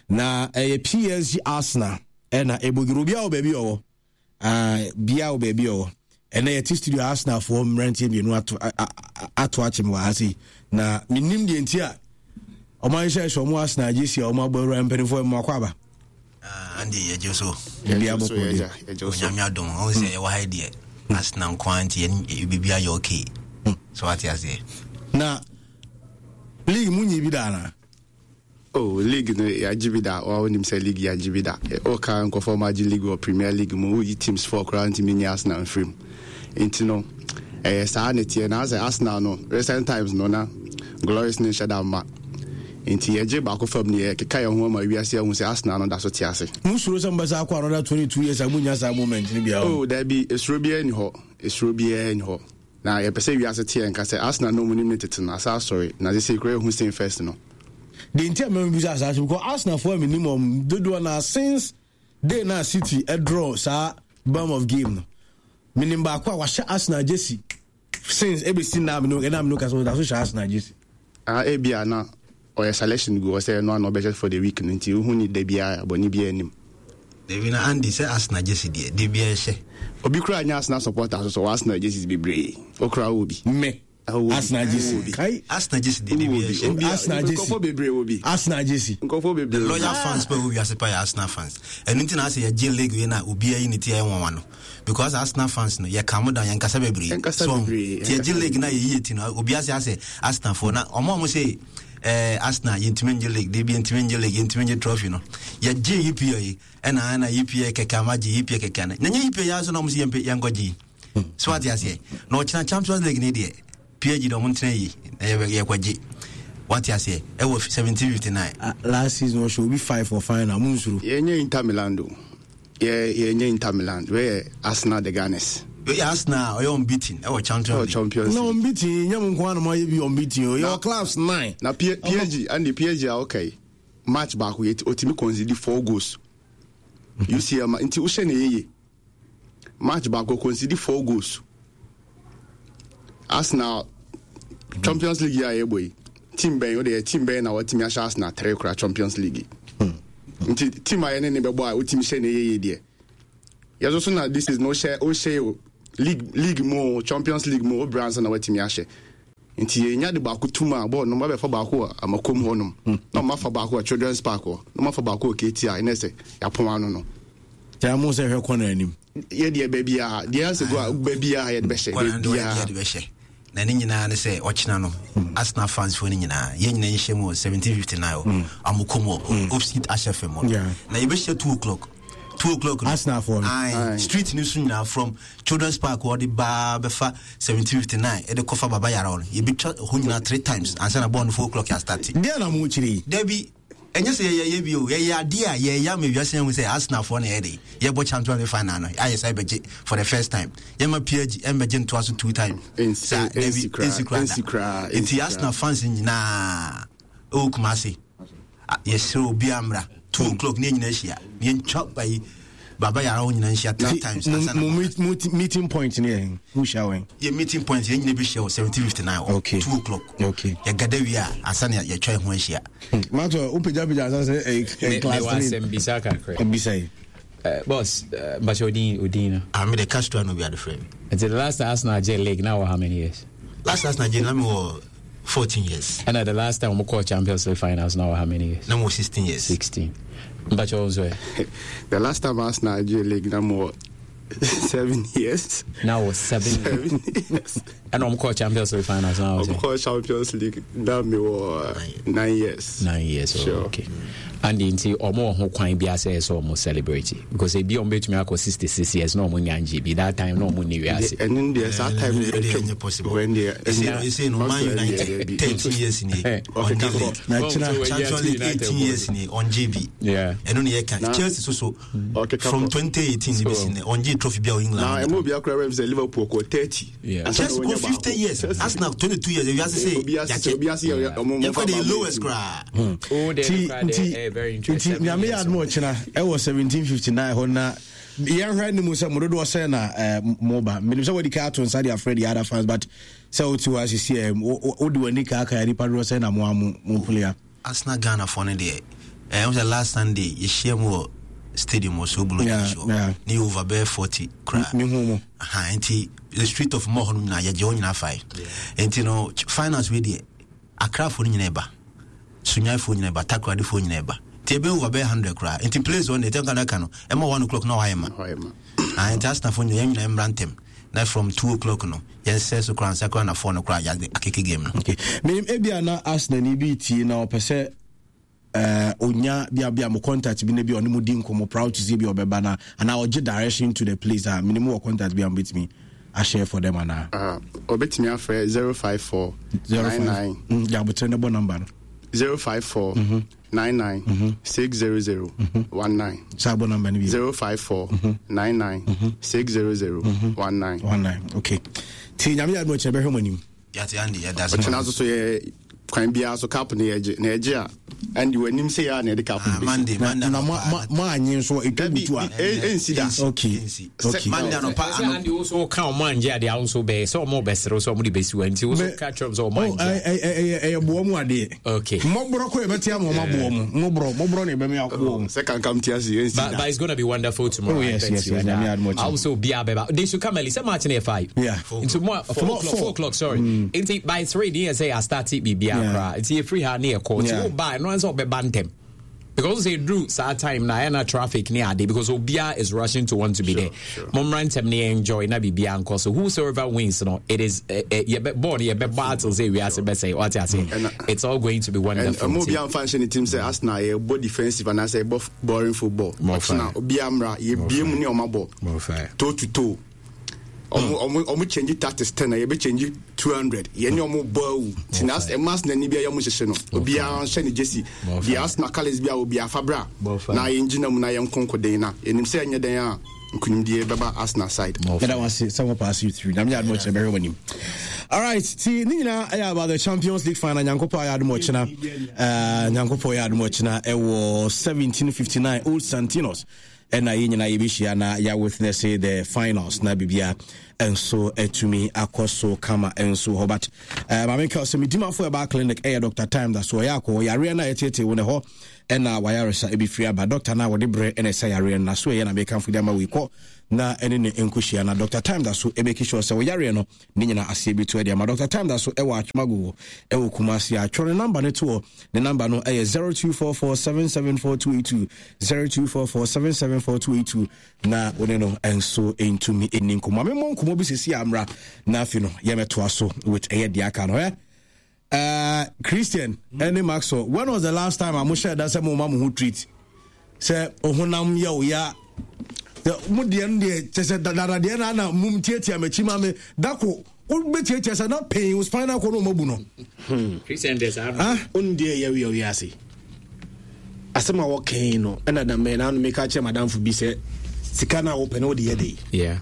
Na ɛyɛ P S G Arsenal ɛna ɛbɔduru. Obiara wɔ baabi ɔwɔ. Ah, bia wɔ baabi ɔwɔ. Ɛnɛ yɛte studio, Arsenal foɔ mmeranteɛ mmienu ato a- a- a- ato akyem wɔ ha sei na menim deɛ nti a ɔmo ahyehyɛ hyɛ ɔmo Arsenal gye si a ɔmo abɔ awura. Mpanimfoɔ mu akɔ aba. Ah, Andy, yɛgye so. Biribiara bɔkɔ deɛ? Onyame adom, ɔhu sɛ yɛwɔ ha yi deɛ, Arsenal nko ara nti yɛn biribi ayɛ okay. So wate aseɛ. Na league mu nyi bi da anaa? Oh, league no yɛagye bi da. Wa wonim sɛ league yɛagye bi da. Woka nkɔfoɔ ma agye league wɔ Premier League mu, woyi teams four koraa ntumi nye Arsenal mfiri mu. Nti no ɛyɛ saa ne teɛ na sɛ Arsenal no recent times no na glories ne nhyɛ da mma, nti yɛgye baako fam ne yɛkeka yɛn ho ama wiase ahu sɛ Arsenal no da so te ase. Musuro sɛ mobɛsa akɔ another twenty-two years a munya saa moment no bia? Oh, dabi, esuro biara ni hɔ, esuro biara ni hɔ, na yɛpɛ sɛ wiase teɛ nka sɛ Arsenal no mu nim ne tete no asa asɔre na sɛ sɛ kura ehu sen first no. Deɛ nti a mɛmɛ bisa saa so because Arsenal foɔ a menim ɔm dodoɔ na since day na City ɛdraw saa bam of game no, menim baako a wahyɛ Arsenal jersey since ɛbɛsi na mene ɛna mene kasa ɔda so hyɛ Arsenal jersey. Ah, ebia na ɔyɛ selection gu hɔ sɛ ɛno ana ɔbɛhyɛ for the week no, nti wohu ni da biara bɔne biara anim. Dabi na Andy, sɛ Arsenal gye si deɛ, de biara hyɛ. Obi kura nyɛ Arsenal supporter so so wɔ Arsenal jerseys bebree, okura wɔ bi. Me Arsenal jersey kai. Arsenal gye si deɛ, de biara hyɛ. Arsenal jersey. Nkɔfo bebree wɔ bi. Arsenal jersey. Nkɔfo bebree. The loyal fans pɛ wɔ wiase pa yɛ Arsenal fans. Ɛno nti na asɛ yɛgye league wei na obiara yi ne ti ɛyɛ nwanwa no, because Arsenal fans no yɛ calm down, yɛnkasa bebree. Yɛnkasa So, bebree, nti yɛgye yɛnkasa league na yɛyi ti no, obiara sɛ asɛ Arsenal foɔ na ɔmo a ɔmo sɛ ɛɛ Arsenal yɛntumi ngye league de bi, yɛntumi ngye league, yɛntumi ngye trophy no, yɛgye E P L yi ɛna ɛna E P L kɛkɛ ama gye E P L kɛkɛ no na nyɛ E P L yɛ aso na ɔmo sɛ yɛmpɛ yɛnkɔ gye yi so ate aseɛ. Na ɔkyena Champions League ne deɛ, P S G de ɔmo ntena yi na yɛbɛ yɛkɔgye, wate aseɛ, ɛwɔ seventeen fifty-nine. Ah, last season ɔhyɛ obi five for final, mu nsuro? Yɛnyɛ Inter Milan do, yɛ yɛnyɛ Inter Milan, wɛyɛ Arsenal the Gunners. Oyɛ Arsenal ɔyɛ unbeaten ɛwɔ Champions ɛwɔ League. Champions Na League. Unbeaten nyɛ mo nko ara na moayɛ bi unbeaten o, yɛwɔ clubs nine. Na P- PSG, Andy, P S G a okay. Match baako yɛ otimi concede four goals. U C L ma nti wohyɛ ne yeye, match baako concede four goals. Arsenal Champions League yi a yɛbɔ yi, team bɛn o de yɛ team bɛn na wɔtumi ahyɛ Arsenal three kora Champions League yi? Nti team a yɛne ne bɛbɔ a wotumi hyɛ ne yeye deɛ, yɛso so na this is no wohyɛ wohyɛ o league league mu o, Champions League mu o, wobra ansa na watumi ahyɛ. Nti yɛnya de baako tum a bɔɔl no mabɛfa baako wɔ Amakom hɔnom, na ɔmafa baako wɔ Children's Park hɔ, na ɔmafa baako wɔ K T I, ɛnɛ sɛ yɛapɔn ano no. Kyɛ mo sɛ hwɛ kɔnɔ anim. Yɛdeɛ baabiaa deɛ asɛ go a, baabiaa yɛde bɛhyɛ. Kɔnɔ no baabiaa yɛde bɛhyɛ na ne nyinaa ne sɛ ɔkyena no, Arsenal fans foɔ no nyinaa, yɛn nyinaa nhyɛ mu wɔ seventeen fifty-nine hɔ, Amokom hɔ, opposite Ahyɛ Fam hɔ. Yeah. Na yɛbɛhyɛ two o'clock, two o'clock no. Arsenal foɔ no. Aye. Aye. Street no so nyinaa, from Children's Park wɔde baa bɛfa seventeen fifty-nine, ɛde kɔfa Baba Yara hɔ no, yɛbɛtwa hɔ nyinaa three times ansa na bɔɔl no four o'clock yɛ start. Deɛ na mo kyerɛ yi? Dabi, ɛnyɛ sɛ yɛyɛ bi o, yɛyɛ adeɛ a yɛyɛ ama wiase ahu sɛ Arsenalfoɔ na yɛde yɛbɔ Champions League final no, ayɛ sɛ yɛbɛgye for the first time. Yɛma P S G ɛmbɛgye ntoa so two times. Saa dabi. Ɛnsi koraa, ɛnsi koraa ɛnsi koraa, da. ɛnsi Nti koraa. Arsenal fans nyinaa ɛwɔ Kumase, a, yɛsrɛ obiara mmra two o'clock ne yɛn nyinaa ahyia ne yɛntwa bayi Baba Yara hɔ nyinaa nhyia three times mo ansa na mo meet- meeting point ne yɛ mo hyia wɛn? Yɛ meeting point, yɛn nyinaa bɛhyia wɔ seventeen fifty-nine hɔ. Okay. Two o'clock. Okay. Yɛgada wie a, ansa na yɛtwa yɛn ho ahyia. Mato wopagyapagya ansa sɛ ɛyɛ Me- class mewɔ three. asɛm bisa kakra. Bisa yi. Uh, boss, uh, Bacho Odin, Odin no. Ah, me de Castro no bi ade frɛ me. Nti the last time Arsenal gye league now, how many years? Last Arsenal gye na me wɔ fourteen years. And the last time we called Champions League finals now, how many years? Na me wɔ sixteen years. sixteen. Bacho nso ɛ? The last time Arsenal gye league na mo seven years. Now was seven. Seven years. And I'm called Champions League finals now. Ɔmo kɔ Champions League na me wɔ nine years. Nine years. Oh, Sure. okay. And nti ɔmo wɔ ho kwan bi asɛ sɛ ɔmo celebrate because ebi ɔmo betumi akɔ sixty six years na ɔmo nya ngye bi, that time na ɔmo ni wiase. Ɛno deɛ, saa time no ɛdeɛ ɛnyɛ possible. Ɛsɛ no, Man United thirteen years ni ɔngye league. Na kyena Champions League eighteen years ni ɔngye bi. Yeah. Ɛno ne yɛka Chelsea so so from twenty eighteen ni bɛsi nɛ ɔngye trophy bi a wɔ Na England. ɛmu obi akora rɛm sɛ Liverpool kɔ thirty. Yeah. Chelsea kɔ fifty years, Arsenal twenty-two years. Ewiase sɛ Obi ase obi ase yɛ ɔmo yɛmfa de lowest koraa. Oh, nti nti nti Nyame yɛ adom, ɔkyena ɛwɔ seventeen fifty-nine hɔ na yɛnhwɛ ne mu sɛ mo dodoɔ sɛ na eh, moba. Menim sɛ wadi ka ato nsa de afrɛ the other fans, but sɛ wote hɔ asisi ɛ, wode w'ani kaakae nipa dodoɔ sɛ na mo a mo mopole a? Arsenal Ghana foɔ no deɛ, ɛɛ sɛ last Sunday yɛhyia mu wɔ stadium wɔ Sobolo Yeah, show yeah. ne yɛ over bɛyɛ forty koraa. Mehu mo. Aha, nti the street of mɔ hɔ no nyinaa yɛgye hɔ nyinaa fae. Nti no ch- finance wei deɛ, Akrafoɔ no nyinaa ɛba, Sunyaefoɔ nyinaa ɛba, Takoradefoɔ nyinaa ɛba, nti ɛbɛyɛ over bɛyɛ hundred koraa. Nti place hɔ no deɛ, tɛnka no aka no ɛma one o'clock na wayɛ ma. Ah, nti Arsenalfoɔ nyinaa, yɛn nyinaa mmra ntɛm na from two o'clock no yɛnsɛ so koraa nsa koraa na four no koraa yɛade akeke game no. Okay, menim ebia na Arsenal ni bi tie na ɔpɛ sɛ uh, onya bia bia mo contact bi na bi ɔne mo di nkɔmmɔ, proud to say bi ɔbɛba na anaa ɔgye direction to the place a, menim wɔ contact bi a mobɛtumi ahyɛ for them anaa? Ɔbɛtumi afrɛ zero five four nine nine. Gyabotere ne bɔ number no. zero five four nine nine six zero zero one nine. Saa bɔ number no bi. zero five four nine nine six zero zero one nine. one nine. Okay, nti Nyame yɛ adom, ɔkyerɛ bɛhwɛ mo anim. Yɛate, Andy, yɛda ase. Ɔkyena nso so yɛ kwan biara so cup no yɛgye na yɛgye a, ɛnde w'anim sɛ yɛ a na yɛde cup no bɛsi. Monday, Monday. Na mo mo- mo anye nso ɛtwa butu a? Ɛnsi da. Okay okay Monday anɔpa. Sɛ Andy wo so ka ɔmo angye adeɛ a, wo nso bɛyɛ sɛ ɔmo bɛsere wo sɛ ɔmo de bɛsi wa, nti wo so ka kyerɛ m sɛ ɔmo Oh, angye. ɛ- ɛ- ɛ- ɛyɛ boɔ mu adeɛ. Okay. Mmɔborɔ kɔ yɛbɛte ama ɔma boɔ mu, mmɔborɔ mmɔborɔ ne yɛbɛmɛ aboɔ mu. Sɛ kankam te ase, ɛnsi But, da. but it's gonna be wonderful tomorrow. Oh, I yes, bet yes, you. yes. And, Nyame uh, adom ɔkyena. also be abeba. They should come early. Say match near five. Yeah. Nti mo four Four- o'clock. four. Four o'clock. Sorry. Nti by three, deɛ sɛ I start it biribi Yeah. akora. Nti yɛ free ha ne yɛ kɔ. Nti Yeah. wo ba no answer ɔbɛba ntɛm. Because they drew saa time na ɛna traffic ne ade because obia is rushing to want to be there. Mommra ntɛm ne enjoy na biribi ankɔ so. Whosoever wins no, it is eh, eh, yɛbɛ ball no yɛbɛ battle sɛ wiase bɛsɛ wate ase. It's all going to be And wonderful. ɛma Nti- obi amfa nhyɛ ne team sɛ Arsenal yɛbɔ defensive anaasɛ yɛbɔ boring football. More Ɔkyena fire. obiara mmra, yɛbie mu ne ɔma bɔ More fire. toe to toe. Ɔmo ɔmo ɔmo change tactics ten na yɛbɛ change two hundred. Yɛne ɔmo bɔ awu, nti na ɛma Arsenal ni bi a yɛ ɔmo hyehyɛ no, obiara nhyɛ ne jersey More deɛ fire. Arsenal colours bi a obiara fa bra More fire. na yɛngyina mu na yɛnko nkoden na yɛnim sɛ ɛnyɛ den a Nkunimdie bɛba Arsenal side. Meda wo ase sɛ wɔpaase you through. Nyame adom ɔkyena bɛhwɛ w'anim. All right, ti ne nyinaa ɛyɛ about the Champions League final. Nyankopɔn ayɛ adom ɔkyena. Uh, Nyankopɔn yɛ adom ɔkyena ɛwɔ seventeen fifty-nine Old Santinos. Ɛna yɛn nyinaa yɛbɛhyia na yɛ witness the finals na bibia nso atumi akɔ so kama nso hɔ. But uh, maame nka sɛ medimafo ɛbaa clinic ɛyɛ Doctor Time da so ɔyɛ akɔ yareɛ no a yɛtetee wo ne hɔ ɛna wayaresa ebi firi aba. Doctor no a wɔde berɛ ɛna ɛsa yareɛ no na so ɛyɛ na mekamfo de ama wei kɔ na ɛne ne nkɔhyia na Doctor Time da so ɛmɛki sure sɛ wɔyareɛ no ne nyina aseɛ bi to ɛde ama. Doctor Time da so ɛwɔ Atwemagogo ɛwɔ Kumasi. Atwerɛ ne number no toɔ. Ne number no ɛyɛ zero two four four seven seven four two eight two, zero two four four seven seven four two eight two na wo ne no nso ntumi ɛni nkɔmmɔ. Memmɔ nkɔmmɔ bi sɛsi amra na afei no yɛmɛtoa so with ɛyɛ deɛ aka no. Ɛ Uh, Christian ɛne mm. Maxwell, when was the last time a mo hyɛ da sɛ mo ma mo ho treat sɛ ohonam yɛ o ya mo deɛ no deɛ kyɛ sɛ dadadeɛ na ana mum tiatia m'akyi ma me dako wobɛtiatia sɛ na pain wo spinal cord no ɔmabu no. Christian deɛ saa no ɔno deɛ yɛ yɛ wiase asɛm a wɔkɛn no ɛna da mɛ na meka kyerɛ madamfo bi sɛ sika no a wopɛ no wode yɛ de yeah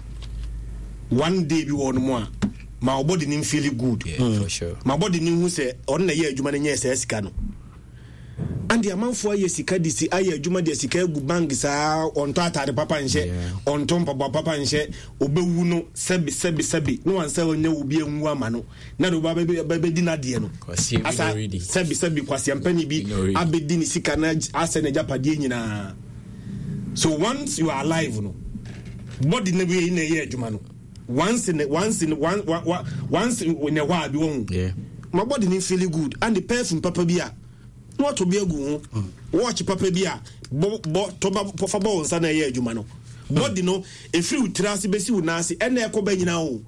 one day bi wɔ no mu a ma ɔbɔde ne feel good. Yeah, mm. for sure. Ma bɔde ne hu sɛ ɔno na ɛyɛ adwuma no nyɛ sɛ sika no ande amanfoɔ ayɛ sika de si ayɛ adwuma de sika agu bank saa ɔntɔ atade papa nhyɛ ɔntɔ mpaboa papa nhyɛ ɔbɛwu no sɛbi sɛbi sɛbi na wansa ɔnyɛ obi anwu ama no na de ɔba bɛdi n'adeɛ no asa sɛbi sɛbi kwasiampani bi abɛdi ne sika na asɛ n'agyapadeɛ nyinaa. So once you are alive no body na wei na ɛyɛ adwuma no once in once in one, one, once in a while bi wɔn yeah. My body ni feel good and the perfume papa bi a na wato bi agu ho watch papa bi a bɔ bɔ tɔba fa bɔ wo nsa na ɛyɛ adwuma no body no efiri wo tiri ase besi wo nan ase ɛna ɛkɔ bɛ nyinaa o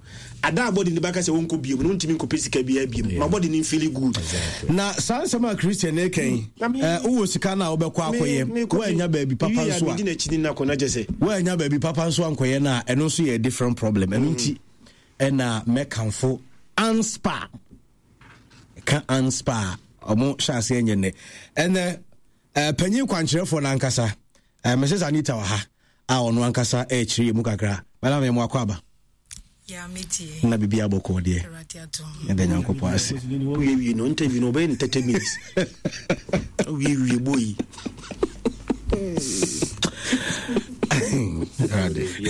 ada body ni baka sɛ wɔnkɔ biem no ntumi nkɔpɛ sika bi abiem my body ni feel good. Exactly. Na saa nsɛm a Christian ne kɛn ɛɛ wowɔ sika na wobɛkɔ akɔyɛ woanya baabi papa nso a woanya baabi papa nso ankɔyɛ no a ɛno nso yɛ different problem. Ɛno nti ɛna mɛkamfo Anspa ka Anspa ɔmo hyɛ aseɛ nyɛ nnɛ ɛnɛ ɛɛ panyin kwankyerɛfoɔ n'ankasa ɛɛ Missus Anita wɔ ha a ɔno ankasa ɛɛkyerɛ yɛ mu kakra. Madam yɛ mo akɔ aba. Na biribi abɔkɔɔ deɛ ɛda Nyankopɔn ase. Wiewie no interview no ɔbɛyɛ no thirty minutes. Wiewie bɔ yi.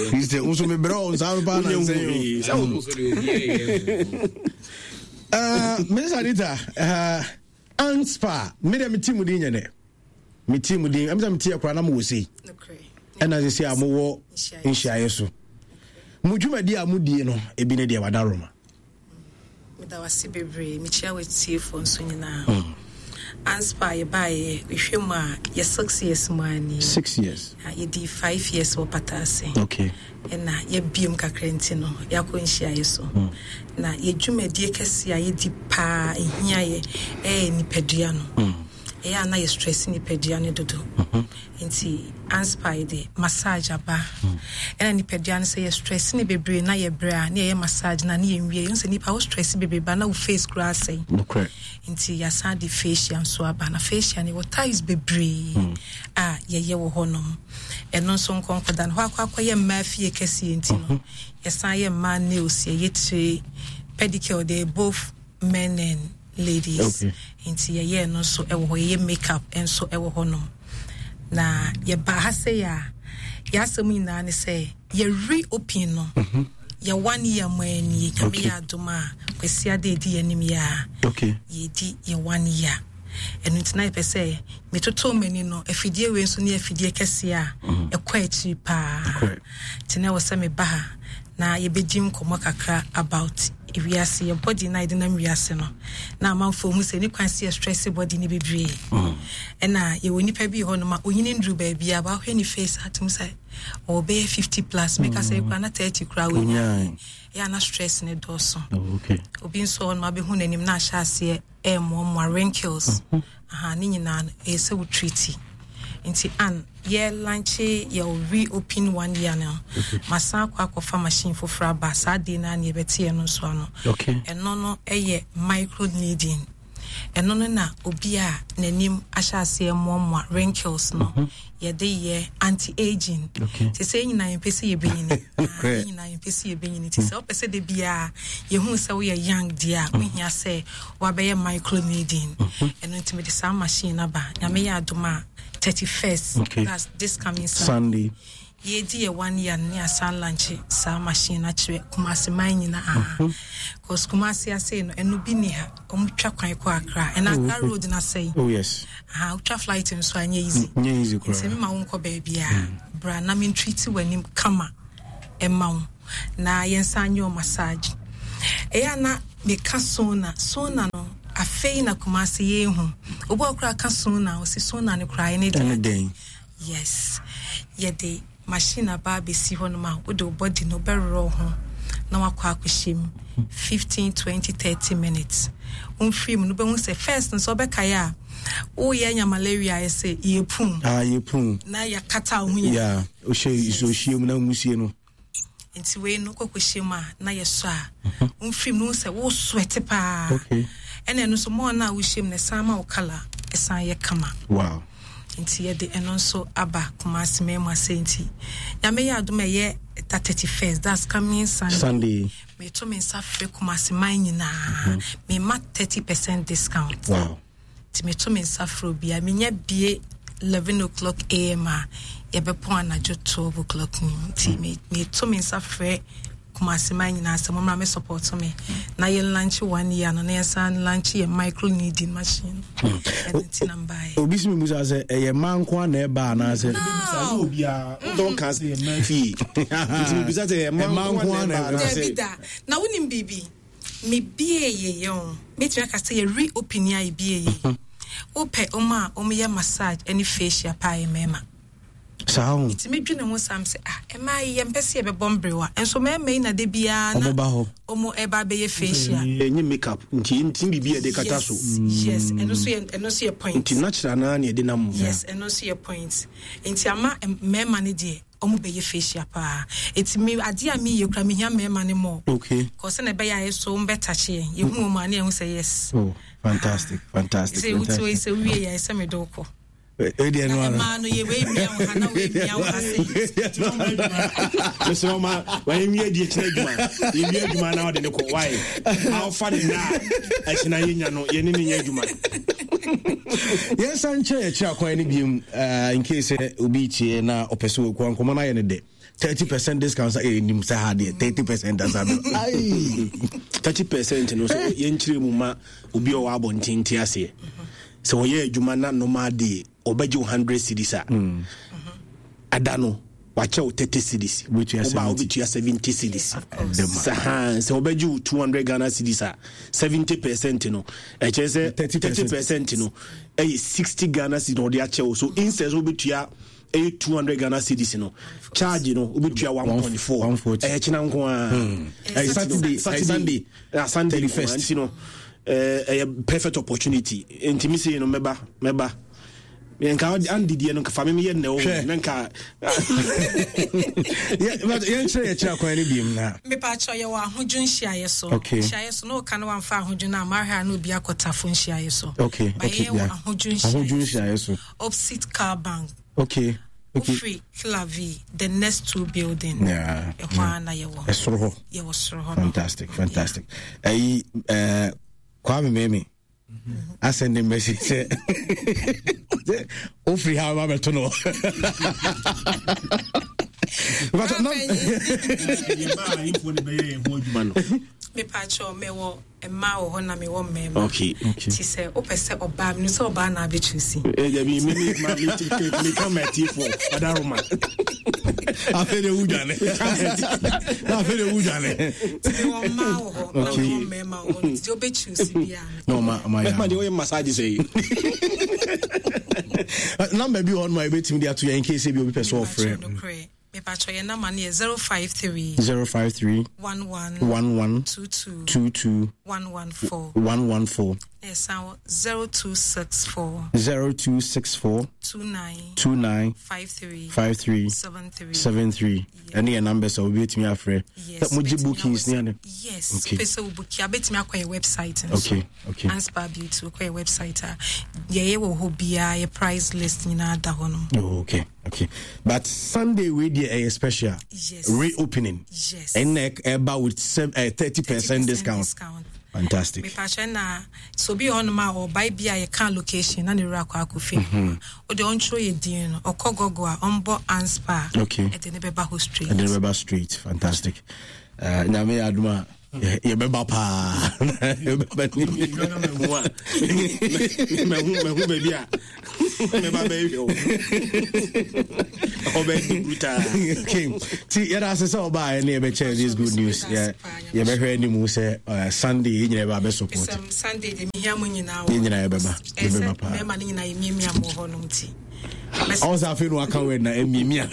Christian nso mebrɛ wo nsa no paa na nsɛn o. Missus Anita, uh, Anspa, me deɛ mete mu din nyɛ dɛ mete mu din ɛm sɛ mete yɛ koraa na mowɔ sei ɛna sɛ sɛ a mowɔ nhyiaeɛ so mo dwumadi a modie no ebi ne deɛ wada Roma. Meda wase bebree, mekyia w'atiefoɔ nso nyinaa. Anspa yɛbaeɛ mehwɛ mu a yɛ six years mu a ni. Six years. Yɛdi five years wɔ Pataase. Okay. Ɛna yɛbiem kakra nti no yɛakɔ nhyiaeɛ so. Mm. Na yɛdwumadie kɛseɛ a yɛdi paa ɛhia yɛ ɛyɛ nipadua no. Mm. Ɛyɛ a na yɛ stress nipadua no dodo. Mm-hmm. Nti Anspa yɛde massage aba. Ɛna nipadua no sɛ yɛ stress ne bebree na yɛ brɛ a na yɛyɛ massage na ne yɛnwie. Yɛhu sɛ nipa wo stress bebree ba na wo face koraa asɛe. Nokorɛ. Nti yɛasan de facial nso aba. Na facial no yɛwɔ types bebree mm. a yɛyɛ wɔ hɔnom. Ɛno nso nkɔnkɔda no hɔ akɔ akɔyɛ mmaa fie kɛseɛ nti no yɛsan yɛ mmaa nails, yɛyɛ tire, pedicure, they both men and ladies. Okay. Nti yɛyɛ no nso ɛwɔ hɔ, yɛyɛ makeup nso ɛwɔ hɔnom. Na yɛba ha sɛ yɛ a yɛasɛm nyinaa ne sɛ yɛ reopen no. Mm-hmm. Yɛ one year mo ani nyame Okay. yɛ adom a Kwasi ade edi anim yɛ a Okay. yɛdi yɛ one year. Ɛno nti na yɛpɛ sɛ metoto m'ani no afidie wei nso ne afidie kɛseɛ a ɛkɔ akyiri paa. Nti na ɛwɔ sɛ meba ha na yɛbɛdi nkɔmmɔ kakra about wiase yɛ body na yɛde nam wiase no na amanfoɔ hu sɛ ne kwan sɛ yɛ stress body ne bebree. Ɛna yɛwɔ nipa bi hɔ nom a onyini nduru baabi a baahwɛ ne face atom sɛ ɔwɔ bɛyɛ fifty plus meka sɛ kura na thirty kura wɔnya yɛ ana stress ne dɔɔso. Obi nso hɔ nom abɛhu n'anim na ahyɛ aseɛ ɛɛmoamoa wrinkles. Aha ne nyinaa no ɛyɛ sɛ wo treat. Nti an yɛ lunch yɛ reopen one year no masan akɔ akɔfa machine foforɔ aba saa de na ne yɛbɛte yɛ no nso ano. Okay. Ɛno no ɛyɛ micro needling. Ɛno no na obi a n'anim ahyɛ aseɛ mmoamoa, wrinkles no, yɛde yɛ anti-aging. Okay. Te sɛ yɛn nyinaa yɛmpɛ sɛ yɛbɛnyini. Ah, yɛn nyinaa yɛmpɛ sɛ yɛbɛnyini. Nti sɛ wopɛ sɛ da biara yɛhu sɛ woyɛ young deɛ a, wohia sɛ woabɛyɛ micro needling. Ɛno nti mede saa machine no aba. Nyame yɛ adom a thirty-first, Okay. that's this coming Sunday. Sunday. Yɛdi yɛ one year ne asan launch saa machine no akyerɛ Kumasi man nyinaa. Because Kumasi ase no, ɛno bi ni ha. Ɔmo twa kwan kɔ Accra. Ɛna Oh, Accra okay. road na sɛe. Oh yes. Aha, wotwa flight nso a, ɛnyɛ easy. Nyɛ easy koraa. Nti mema wo nkɔ baabi a, bra na mentreat w'anim kama ɛma wo. Na yɛnsan nyɛ wo massage. Ɛyɛ a na meka sauna. Sauna no, afei na Kumasi yɛhu. Obi a ɔkoraa ka sauna, ɔsi sauna no koraa ɛne deɛ. Ɛne dɛn? Yes. Yɛde machine aba abɛsi hɔ nom a wode wo body no wobɛwerɛ wo ho na wakɔ akɔhyɛ mu fifteen, twenty, thirty minutes. Womfiri mu no wobɛhu sɛ first nso wobɛkaeɛ a woyɛ anya malaria ayɛ sɛ yɛpum. Ah, yɛpum. Na yɛakata wo ho nyinaa. Yeah, wohyɛ nsuo hyia mu na nwusie no. Nti wei no wokɔkɔhyɛ mu a na yɛsɔ a womfiri mu no wohu sɛ wo sweat paa. Okay. Ɛna ɛno nso mɔɔ no a wohyɛ mu no ɛsan ma wo colour ɛsan yɛ kama. Wow. Nti yɛde ɛno nso aba Kumasi mɛmu ase. Nti Nyame yɛ adom a ɛyɛ da thirty-first, that's coming Sunday. Sunday. Meto me nsa frɛ Kumasi man nyinaa. Mema thirty percent discount. Wow. Nti meto me nsa frɛ obiara. Menya bie eleven o'clock A M a yɛbɛpɔn anadwo twelve o'clock ni. Nti me, meto me nsa frɛ Kumasi man nyinaa sɛ mommra me support me na yɛn launch one year no na yɛnsan launch yɛ micro kneading machine. Ɛno nti na mbaeɛ. Obi si mi busa sɛ ɛyɛ mmaa nko a na ɛba anaasɛ? No. Bisa obiara. Wotɔ nka sɛ yɛ mmaa fie. Nti mi busa sɛ ɛyɛ mmaa nko a na ɛba anaasɛ? Dabi da. Na wonim biribi? Me bie yɛ yɛ o. Metumi aka sɛ yɛ reopen a yɛ bie yɛ. Wopɛ ɔmo a ɔmo yɛ massage ɛne facial paa yɛ mmarima. Saa o. Nti medwene ho sam sɛ, ah, mmaa yi yɛmpɛ sɛ yɛbɛbɔ mberewa. Nso mmarima yi na de biara na Ɔmo ba hɔ. ɔmo ɛba abɛyɛ facial. Ɛnyɛ makeup nti nti biribi a yɛde kata so. Yes, yes, ɛno nso yɛ, ɛno nso yɛ point. Nti natural naa na yɛde nam mu. Yes, ɛno nso yɛ point. Nti ama mmarima no deɛ ɔmo bɛyɛ facial paa. Nti me adeɛ a meyɛ kura mehia mmarima no more. Okay. Kɔsɛ na ɛbɛyɛ ayɛ so ɔmo bɛtakye yɛn. Yɛhu ɔmo a ne yɛhu sɛ yes. Oh, fantastic, fantastic, Sɛ wotu fantastic. sɛ wowie yɛ sɛ mede wo kɔ. Ɛdeɛ no ara. Mmaa no yɛ wei mia wo ha na wei mia wo ha sɛ. Mesrɛ wo ma wayɛ adi akyerɛ adwuma. Yɛwie adwuma na wode ne kɔ. Why? Awofa ne nna a ɛkyena yɛnya no, yɛne ne nyɛ adwuma. Yɛnsan nkyerɛ yɛkyerɛ akwan no biom, uh, in case sɛ obi tie na ɔpɛ sɛ wɔkua nkɔmmɔ no ayɛ no dɛ. thirty percent discount sɛ ɛnim sɛ ha deɛ thirty percent asa no. Ai. thirty percent no so yɛnkyerɛ mu ma obi a ɔwɔ abɔnten te aseɛ. Sɛ ɔyɛ adwuma na normal day ɔbɛgye wo hundred cedis a, ada no wakyɛ wo thirty cedis. Wobɛtua Woba a seventy. wobɛtua seventy cedis. Of course. Sɛ ha, sɛ ɔbɛgye wo two hundred Ghana cedis a, seventy percent no ɛkyerɛ sɛ thirty percent. thirty percent no ɛyɛ sixty Ghana cedis na ɔde akyɛ wo. So instead sɛ wobɛtua ɛyɛ two hundred Ghana cedis no, charge no wobɛtua one point four. One forty. Ɛyɛ kyena nko ara. Ɛyɛ Saturday, Saturday. Sunday. Ah, Sunday nko ara. Thirty-first. Nti no, eh, ɛyɛ perfect opportunity. Nti mi sei no mɛba, mɛba. Nka andi deɛ no, nka fa me meyɛ nnɛ wo, Hwɛ. na nka Yɛ, but yɛnkyerɛ yɛkyerɛ akwan no biom na. Mepa kyɛw, yɛwɔ ahodwo nhyiaeɛ so. Okay. Nhyiaeɛ so, na woka no wamfa ahodwo no a, mahwɛ a na obi akɔtafo nhyiaeɛ so. Okay, But okay, yɛwɔ yeah. ahodwo nhyiaeɛ Ahodwo nhyiaeɛ so. Opposite Car Bank. Okay. Okay. Wofiri Clavi, the next two building. Yeah. Ɛhɔ ara na yɛwɔ. Ɛsoro hɔ. Yɛwɔ soro hɔ no. Fantastic, fantastic. Ɛyi, eh, Kwame Memi. I send him message sɛ ofiri ha ba bɛto no. But na Mepa kyɛw, mewɔ mmaa wɔ hɔ na mewɔ mmarima. Okay. Okay. Nti sɛ wopɛ sɛ ɔbaa, menim sɛ ɔbaa na abɛtwi si. Eh, dabi, me, me, ma, me, me, me, ka ma atiefoɔ, ɔdaroma. Afei de wo dwane. Na afei de wo dwane. Nti mewɔ mmaa wɔ hɔ, na Okay. mewɔ mmarima wɔ hɔ. Nti deɛ wobɛtwi si biara. Na ɔma, ɔma yɛ. Mɛma deɛ woyɛ massage sɛ yi. Number bi wɔ hɔ nom a yɛbɛtumi de ato yɛn in case bi obi pɛ sɛ ɔfrɛ. Nokorɛ. Mepa kyɛw, yɛn number no yɛ zero five three zero five three one one one one two two two two one one four. one one four. Na yɛsan wɔ zero two six four zero two six four two nine two nine five three five three seven three seven three. Ɛne yɛ numbers a obi betumi afrɛ. Yes, Mogye wobɛtumi bookings ne awɔ- ade. Yes, Okay. wopɛ sɛ wobuki a wobɛtumi akɔ yɛ website nso. Okay, okay. Anspa Beauty wokɔ yɛ website a yɛyɛ wɔ hɔ biara yɛ price list nyinaa da hɔ no. Oh, okay, okay. But Sunday we deɛ ɛyɛ special. Yes. Reopening. Yes. Ɛnna ɛba with thirty percent discount. discount. Fantastic. Mepakyɛ na sɛ obi wɔ hɔnom a ɔbae bi a yɛka location na ne werɛ akɔ akɔfie Mhm. wode ɔntwerɛ yɛ din no ɔkɔ Google a ɔmbɔ Anspa a Okay. ɛde ne bɛba hɔ straight. Ɛde bɛba straight. Fantastic. Uh, Nyame yɛ adom a yɛ- yɛbɛba paa. Yɛbɛba ni. Mahu mahu baabi a mɛba bɛhwɛ wo ɔbɛdi brutal. Okay. Ti yɛda ase sɛ ɔbaeɛ ne yɛbɛkyɛ this good news. Yɛ- Yɛbɛhwɛ anim sɛ uh, Sunday yɛn nyinaa yɛbɛba abɛsupport. Sɛm Sunday de mehia mo nyinaa wɔ Yɛn nyinaa yɛbɛba. ɛsɛ Yɛbɛba paa. mmarima no nyinaa yɛmiamia mo wɔ hɔnom nti Ɔn sɛ afei na waka word na ɛmiamia.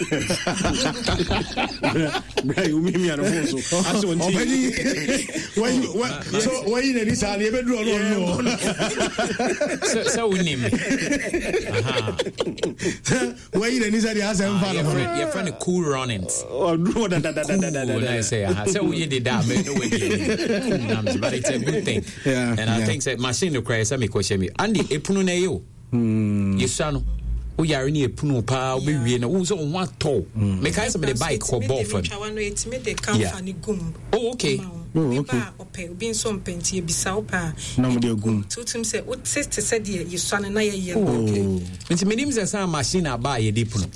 Bra yi womiamia no phone so asɛ ɔnti Ɔbɛni wɔyi wɔ so wɔyi n'ani saa no yɛbɛduru ɔno ɔno. Sɛ sɛ wonim me. Wɔyi n'ani saa deɛ asɛ mfa no ho. Yɛfrɛ yɛfrɛ no cool runnings. Ɔduru hɔ Cool, na dadadadadadada. sɛ aha sɛ woyɛ deda a mɛ no wadi anim. Cool numbers, but it's a good thing. Yeah, And I yeah. think sɛ machine no koraa sɛ mekɔhyɛ mi Andy epunu na ɛyɛ o. Yɛsua no woyare ne yɛpunu paa wobɛwie no wohu sɛ wo ho atɔ wo. Mekae sɛ mede bike kɔ bɔɔl fam. Twa no yɛtumi de kamfa Yeah. ne gum Oh, okay. ma wo. Oh, Obi okay. ba a ɔpɛ obi nso mpɛ nti yɛbisa wo pɛ a Na mode agum. nti wotum sɛ wote te sɛ deɛ yɛsua no na yɛyɛ no. Oh. Nti menim sɛ saa machine aba a yɛde pono.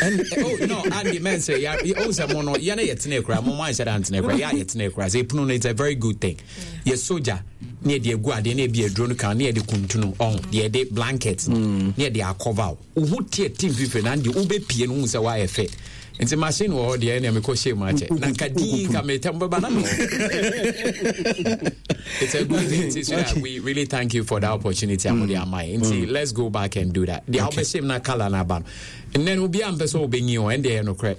And, oh, no, Andy, man, sɛ ya oh, sɛ mo no yɛne yɛtena kura mo mo anhyɛ da ntena kura yɛ a yɛtena kura sɛ epono no it's a very good thing. Yɛ soja ne yɛde agu adeɛ ne yɛde aduro no kan ne yɛde kuntunu ɔho deɛ yɛde blanket ne yɛde akɔva wo wo ho teɛ tim fifiri na deɛ wobɛpie no wohu sɛ woayɛ fɛ. Nti machine wɔ hɔ deɛ ɛnea mekɔ hyɛ mu akyɛ na nka dii nka metɛm bɛba na mewɔ. It's a good thing. Nti so that we really thank you for that opportunity. Mm. Nti let's go back and do that. The okay. na color na ba no. And then obi am pɛ sɛ obenyi o ɛnde ɛyɛ nokorɛ.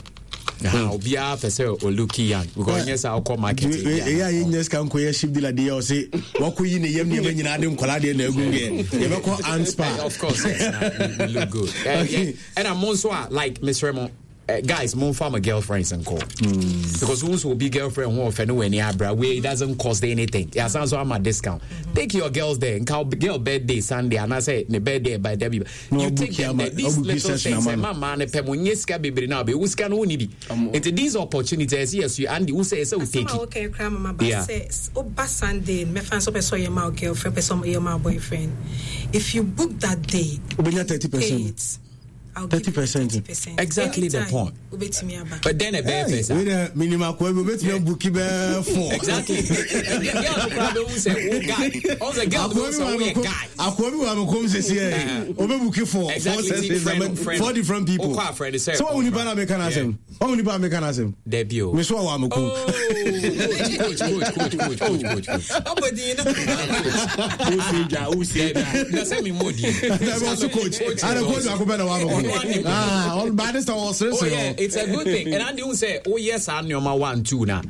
Ha obiara pɛ sɛ oluki young because nyɛ sɛ wokɔ market. Ɛyɛ a yɛnya sika nkɔyɛ ship dealer deɛ ɔse wakɔyi ne yam nneɛma nyinaa de nkɔla deɛ na agu deɛ yɛbɛkɔ Anspa. Of course, yes, nah, we, we look good. Uh, Okay. yeah. And I'm also uh, like Miss Remo. Uh, guys, mo fa my girlfriends and call because who's will be girlfriend who offend when abra where it doesn't cost anything. Yeah, sounds so I'm a discount. Take your girls there and call girl birthday Sunday and I say the birthday by Debbie. No, You take book them there. ama- These obuki little session things. ama eh, no. Mama ne pɛ mo nye sika bebree na be sika no woni bi. Nti these opportunities yes you and who say say we take Asɛm a it. woka yi koraa mama ba Yeah. sɛ s- woba Sunday no, mɛfa nso wopɛ sɛ ɔyɛ ma wo girlfriend pɛ sɛ ɔyɛ ma wo boyfriend if you book that day Wobɛnya thirty pay percent. it I'll give you thirty percent. thirty percent. Exactly the Anytime, point. wobɛtumi aba. But then a bare face. Wei dɛ minim akoa bi obɛtumi abuki bɛɛ four. Exactly. And the girl no probably who say oh guy. Oh the girl Akoa who bi say wɔ oh me yeah kom- guy. akoa bi wɔ me kom sesi ɛ obɛbuki four four Exactly. sessions Friend- ama- friend. four different people. Wokɔ a friend sɛ sɛ wahu nipa na meka no asɛm wahu nipa na meka no asɛm Debbie o. me so a wɔ me kom. Oh, coach, coach, coach, coach, coach, coach, coach. Ɔbɔ din no. Wosie dwa wosie dwa. Na sɛ me mmɔ din. Dabi ɔso coach ana coach baako pɛ na wɔ me kom. Ɔno ane. Ah, ɔno by this time ɔseresere Oh yeah, hɔ. it's a good thing. And Andy who say, oh yes, I know my one two na.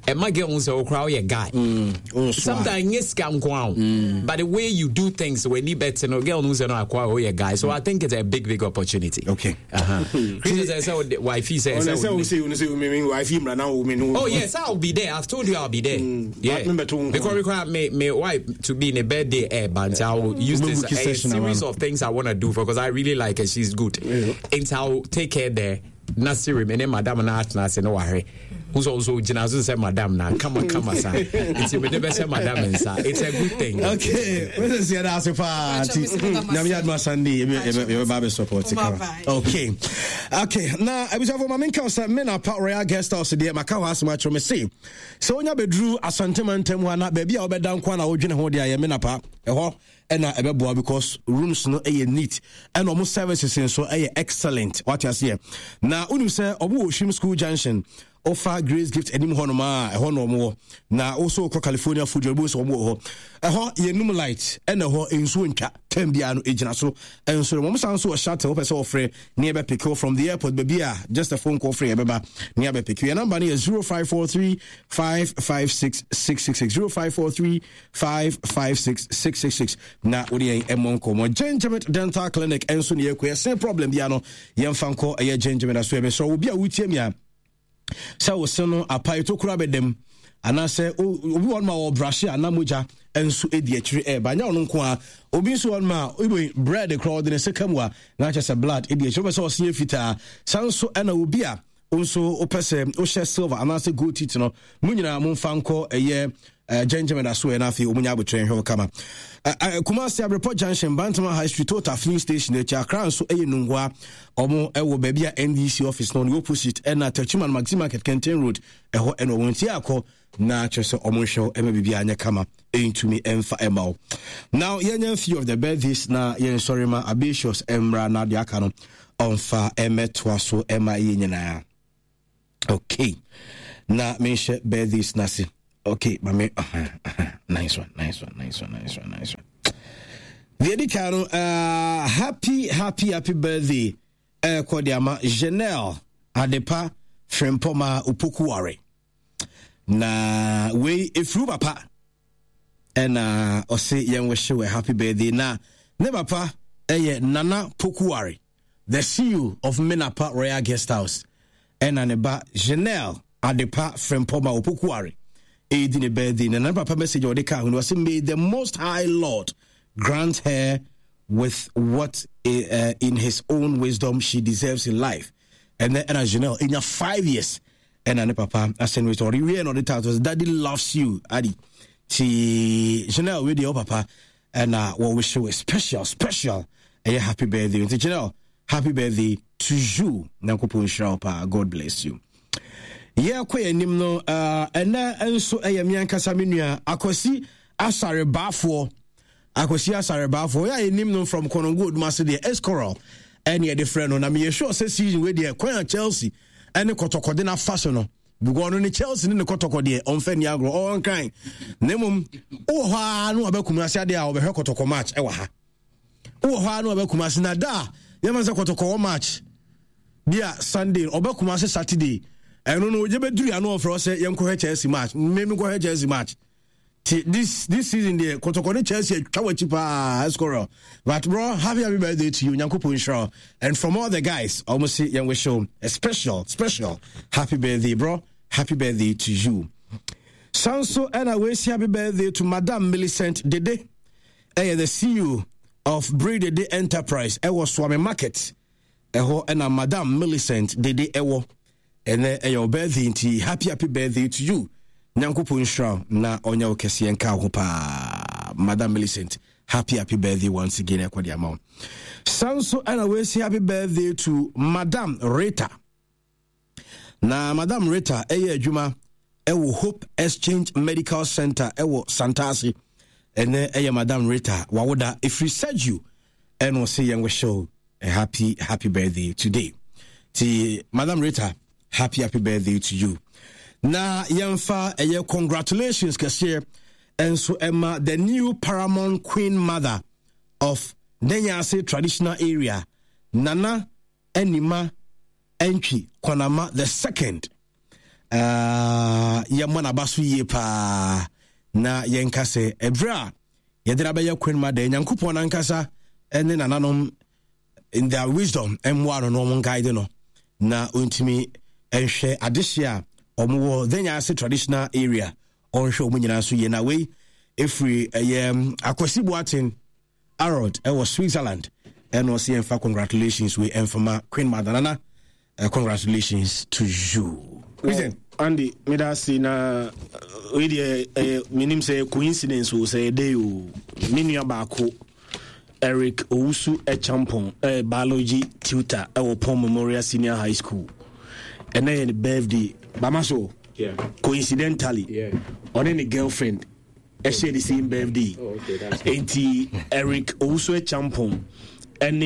And my girl who say, oh crowd, yeah guy. Oh, swag. Sometimes yes, can go on, but the way you do things when you better, no girl who say no, I oh yeah guy. So I think it's a big, big opportunity. Okay. Uh-huh. Chris says, oh, wifey says, ɔnɛ sɛ wosie wo no sɛ me wife mmra na wo me no. Oh yes, I'll be there. I've told you I'll be there. Yeah, Me better won't because come. require me, me wife to be in a birthday air, but I will use this We'll book a a session series around. of things I want to do for because I really like her. She's good. Yeah. And I'll take her there. Nasiri, me ne madam na atena ase no wahwe. Who's also gyina so sɛ madam na kama kama sa. Nti me de bɛhyɛ madam nsa. It's a good thing. Okay, wọ́n sɛ yɛda ase paa nti nyame yɛ adoma Sunday yɛbɛba bɛ support Bye kama. bye. Okay, okay. Na abusuafo ma menka wo sɛ me na pa Royal Guest House deɛ maka hɔ asɛm akyerɛ me se sɛ wonya bɛduru Asantema ntam hɔ a na baabi a wobɛda nko a na wodwene ho deɛ ayɛ me na pa ɛhɔ ɛna ɛbɛboa because rooms no ɛyɛ neat ɛna ɔmo services nso ɛyɛ excellent. Wate aseɛ na wonim sɛ ɔmo wɔ Hwim School Junction. Ofa Grace Gift anim hɔ nom a ɛhɔ na ɔmo wɔ. Na wosɔ kɔ California Food Joy sɛ ɔmo wɔ hɔ. Ɛhɔ yɛnum light ɛna ɛhɔ nsuo ntwa time biara no egyina so. Ɛnso no wɔn san so wɔ shuttle, wopɛ sɛ wɔfrɛ ne yɛbɛ pick from the airport baabi a, just a phone call, frɛ yɛbɛba ne yɛbɛ pick. Yɛn number no yɛ zero five four three five five six six six six, zero five four three five five six six six six, na wode yɛn ɛmmɔ nkɔmmɔ. Gentleman Dental Clinic ɛnso ne yɛkɔ yɛsen problem bia no, yɛmfa nkɔ ɛyɛ Gentleman so. Yɛbɛsrɛ obi a wotie mi a sɛ wo se no apae, tokuro abɛdam, anaasɛ obi wɔ no ma wɔ brushe a na mogya nso di akyire ɛɛba, nyɛ ɔno nko a, obi nso wɔ no ma ibo bread koraa ɔde ne se ka mu a na kyerɛ sɛ blood di akyire, wopɛ sɛ ɔse yɛ fitaa saa nso, ɛna obi a nso wopɛ sɛ wohyɛ silver anaasɛ gold teeth no, mo nyinaa momfa nkɔ ɛyɛ uh, gentleman aso ɛ, na afei ɔmu nya abotrɛ nhwɛ wo kama. uh, uh, Kumasi, Abrepɔ Junction, Bantama High Street, Total filling station akyi. Accra nso ɛyɛ Nungua, ɔmo ɛwɔ baabi a N D C office no ne opposite, ɛna Techiman, Maxi Market, Kenten Road ɛhɔ ɛna ɔmo nti akɔ na kyerɛ sɛ ɔmo nhwɛ wo ɛma biribi anyɛ kama ɛntumi ɛmfa ɛma wo. Now yɛnyɛ few of the birthdays na yɛnsɔre ma Abatius mmra na deɛ aka no ɔmfa ɛmɛtoa so ɛma yɛ nyinaa. Okay, na menhyɛ birthdays no ase. Okay, mame uh -huh, uh -huh. Nice one, nice one, nice one, nice one, nice one. Deɛ di kan no, uh, happy happy happy birthday ɛkɔ de ama Janelle Adepa Frempɔma Opokuware, na wei efiri papa ɛna ɔse yɛn wɔhyɛ wɔ happy birthday, na ne papa ɛyɛ Nana Pokuware, the C E O of Menapa Royal Guest House, ɛna ne ba Janelle Adepa Frempɔma Opokuware ɛredi ne birthday. Na ne papa message a ɔde kaa ho no, ɔse may the Most High Lord grant her with what uh, in his own wisdom she deserves in life. Ɛnɛ ɛna Janelle ɛnya five years ɛna ne papa asɛn wei sɛ ɔde wie na ɔde tato, "Daddy loves you, adi." Ti Janelle, wei deɛ wo papa ɛna wɔwish you a special special ɛyɛ happy birthday. Nti Janelle, happy birthday to you, Nyankopɔn nhyira wo paa, God bless you. Yɛkɔ yɛn anim no, ɛnɛ nso ɛyɛ me ankasa me nua Akwasi Asare Baafoɔ. Akwasi Asare Baafoɔ yɛ a yɛnim no from Kɔnɔngo Odumase deɛ, Escoral ɛne yɛde frɛ no, na meyɛ sure sɛ season wei deɛ, kwan a Chelsea ɛne Kɔtɔkɔde no afa so no, because ɔno ne Chelsea ne ne Kɔtɔkɔ deɛ ɔmfa ni agorɔ, ɔnkran, na mmom wowɔ hɔ a na wabɛkum ase adeɛ a ɔbɛhwɛ Kɔtɔkɔ match ɛwɔ ha. Wowɔ hɔ a na wabɛkum ase na da a yɛma sɛ Kɔtɔkɔ wɔ match bi a Sunday, ɔbɛkum ase Saturday, ɛno no ogye bɛduru ano ɔfrɛ sɛ yɛnkɔhwɛ Chelsea match, mmemme nkɔhwɛ Chelsea match. Ti this this season deɛ, Kɔtɔkɔ ne Chelsea atwa w'akyi paa, Escoral. But bro, happy happy birthday to you, Nyankopɔn nhyira, and from all the guys, ɔmo se yɛn wish you a special special happy birthday, bro. Happy birthday to you. Sanso ɛna weesi happy birthday to Madam Millicent Dede, ɛyɛ the C E O of Bray Dede Enterprise ɛwɔ Suame Market ɛhɔ, ɛna Madam Millicent Dede ɛwɔ. Ɛnɛ ɛyɛ wo birthday, nti happy happy birthday to you. Nyankopɔn nhyira na ɔnyɛ wo kɛseɛ nka wo ho paa. Madam Millicent, happy happy birthday once again ɛkɔ de ama wo. San so ɛna wɔasi happy birthday to Madam Rita, na Madam Rita ɛyɛ adwuma ɛwɔ Hope Exchange Medical Center ɛwɔ Santase. Ɛnɛ ɛyɛ Madam Rita wawoda, ɛfiri Sergio ɛna ɔse yɛn wɔhyɛ a happy happy birthday today. Ti Madam Rita, happy happy birthday to you. Na yɛmfa ɛyɛ congratulations kɛseɛ ɛnso ɛma the new paramount queen mother of Nenyase Traditional Area, Nana Anima Antwi Kwanama the Second. uh, yɛmmɔ n'aba so yie paa na yɛnka sɛ ɛberɛ a yɛde no abɛyɛ queen mother, Nyankopɔn ankasa ne nananom in their wisdom mmoa no na wɔn guide no na ɔntumi nhwɛ adehye a wɔwɔ Denyase Traditional Area, ɔnhwɛ wɔn nyinaa so yie. Na wei ɛfiri ɛyɛ Akwasi Boaten Harold ɛwɔ Switzerland, ɛna ɔsɛ yɛmfa congratulations wei ɛmfama queen mother Nana. uh, congratulations to you. Well, Andy, meda ase. Na wei deɛ ɛyɛ, menim sɛ coincidence o, sɛ ɛdɛ o, me nua baako Eric Owusu Echampong, ɛyɛ biology tutor ɛwɔ Pon Memorial Senior High School, ɛnɛ yɛ ne birthday bama so. yeah. Coincidentally, ɔne ne girlfriend ɛhyɛ the same birthday. Oh, okay, nti Eric Owusu Echampong ɛne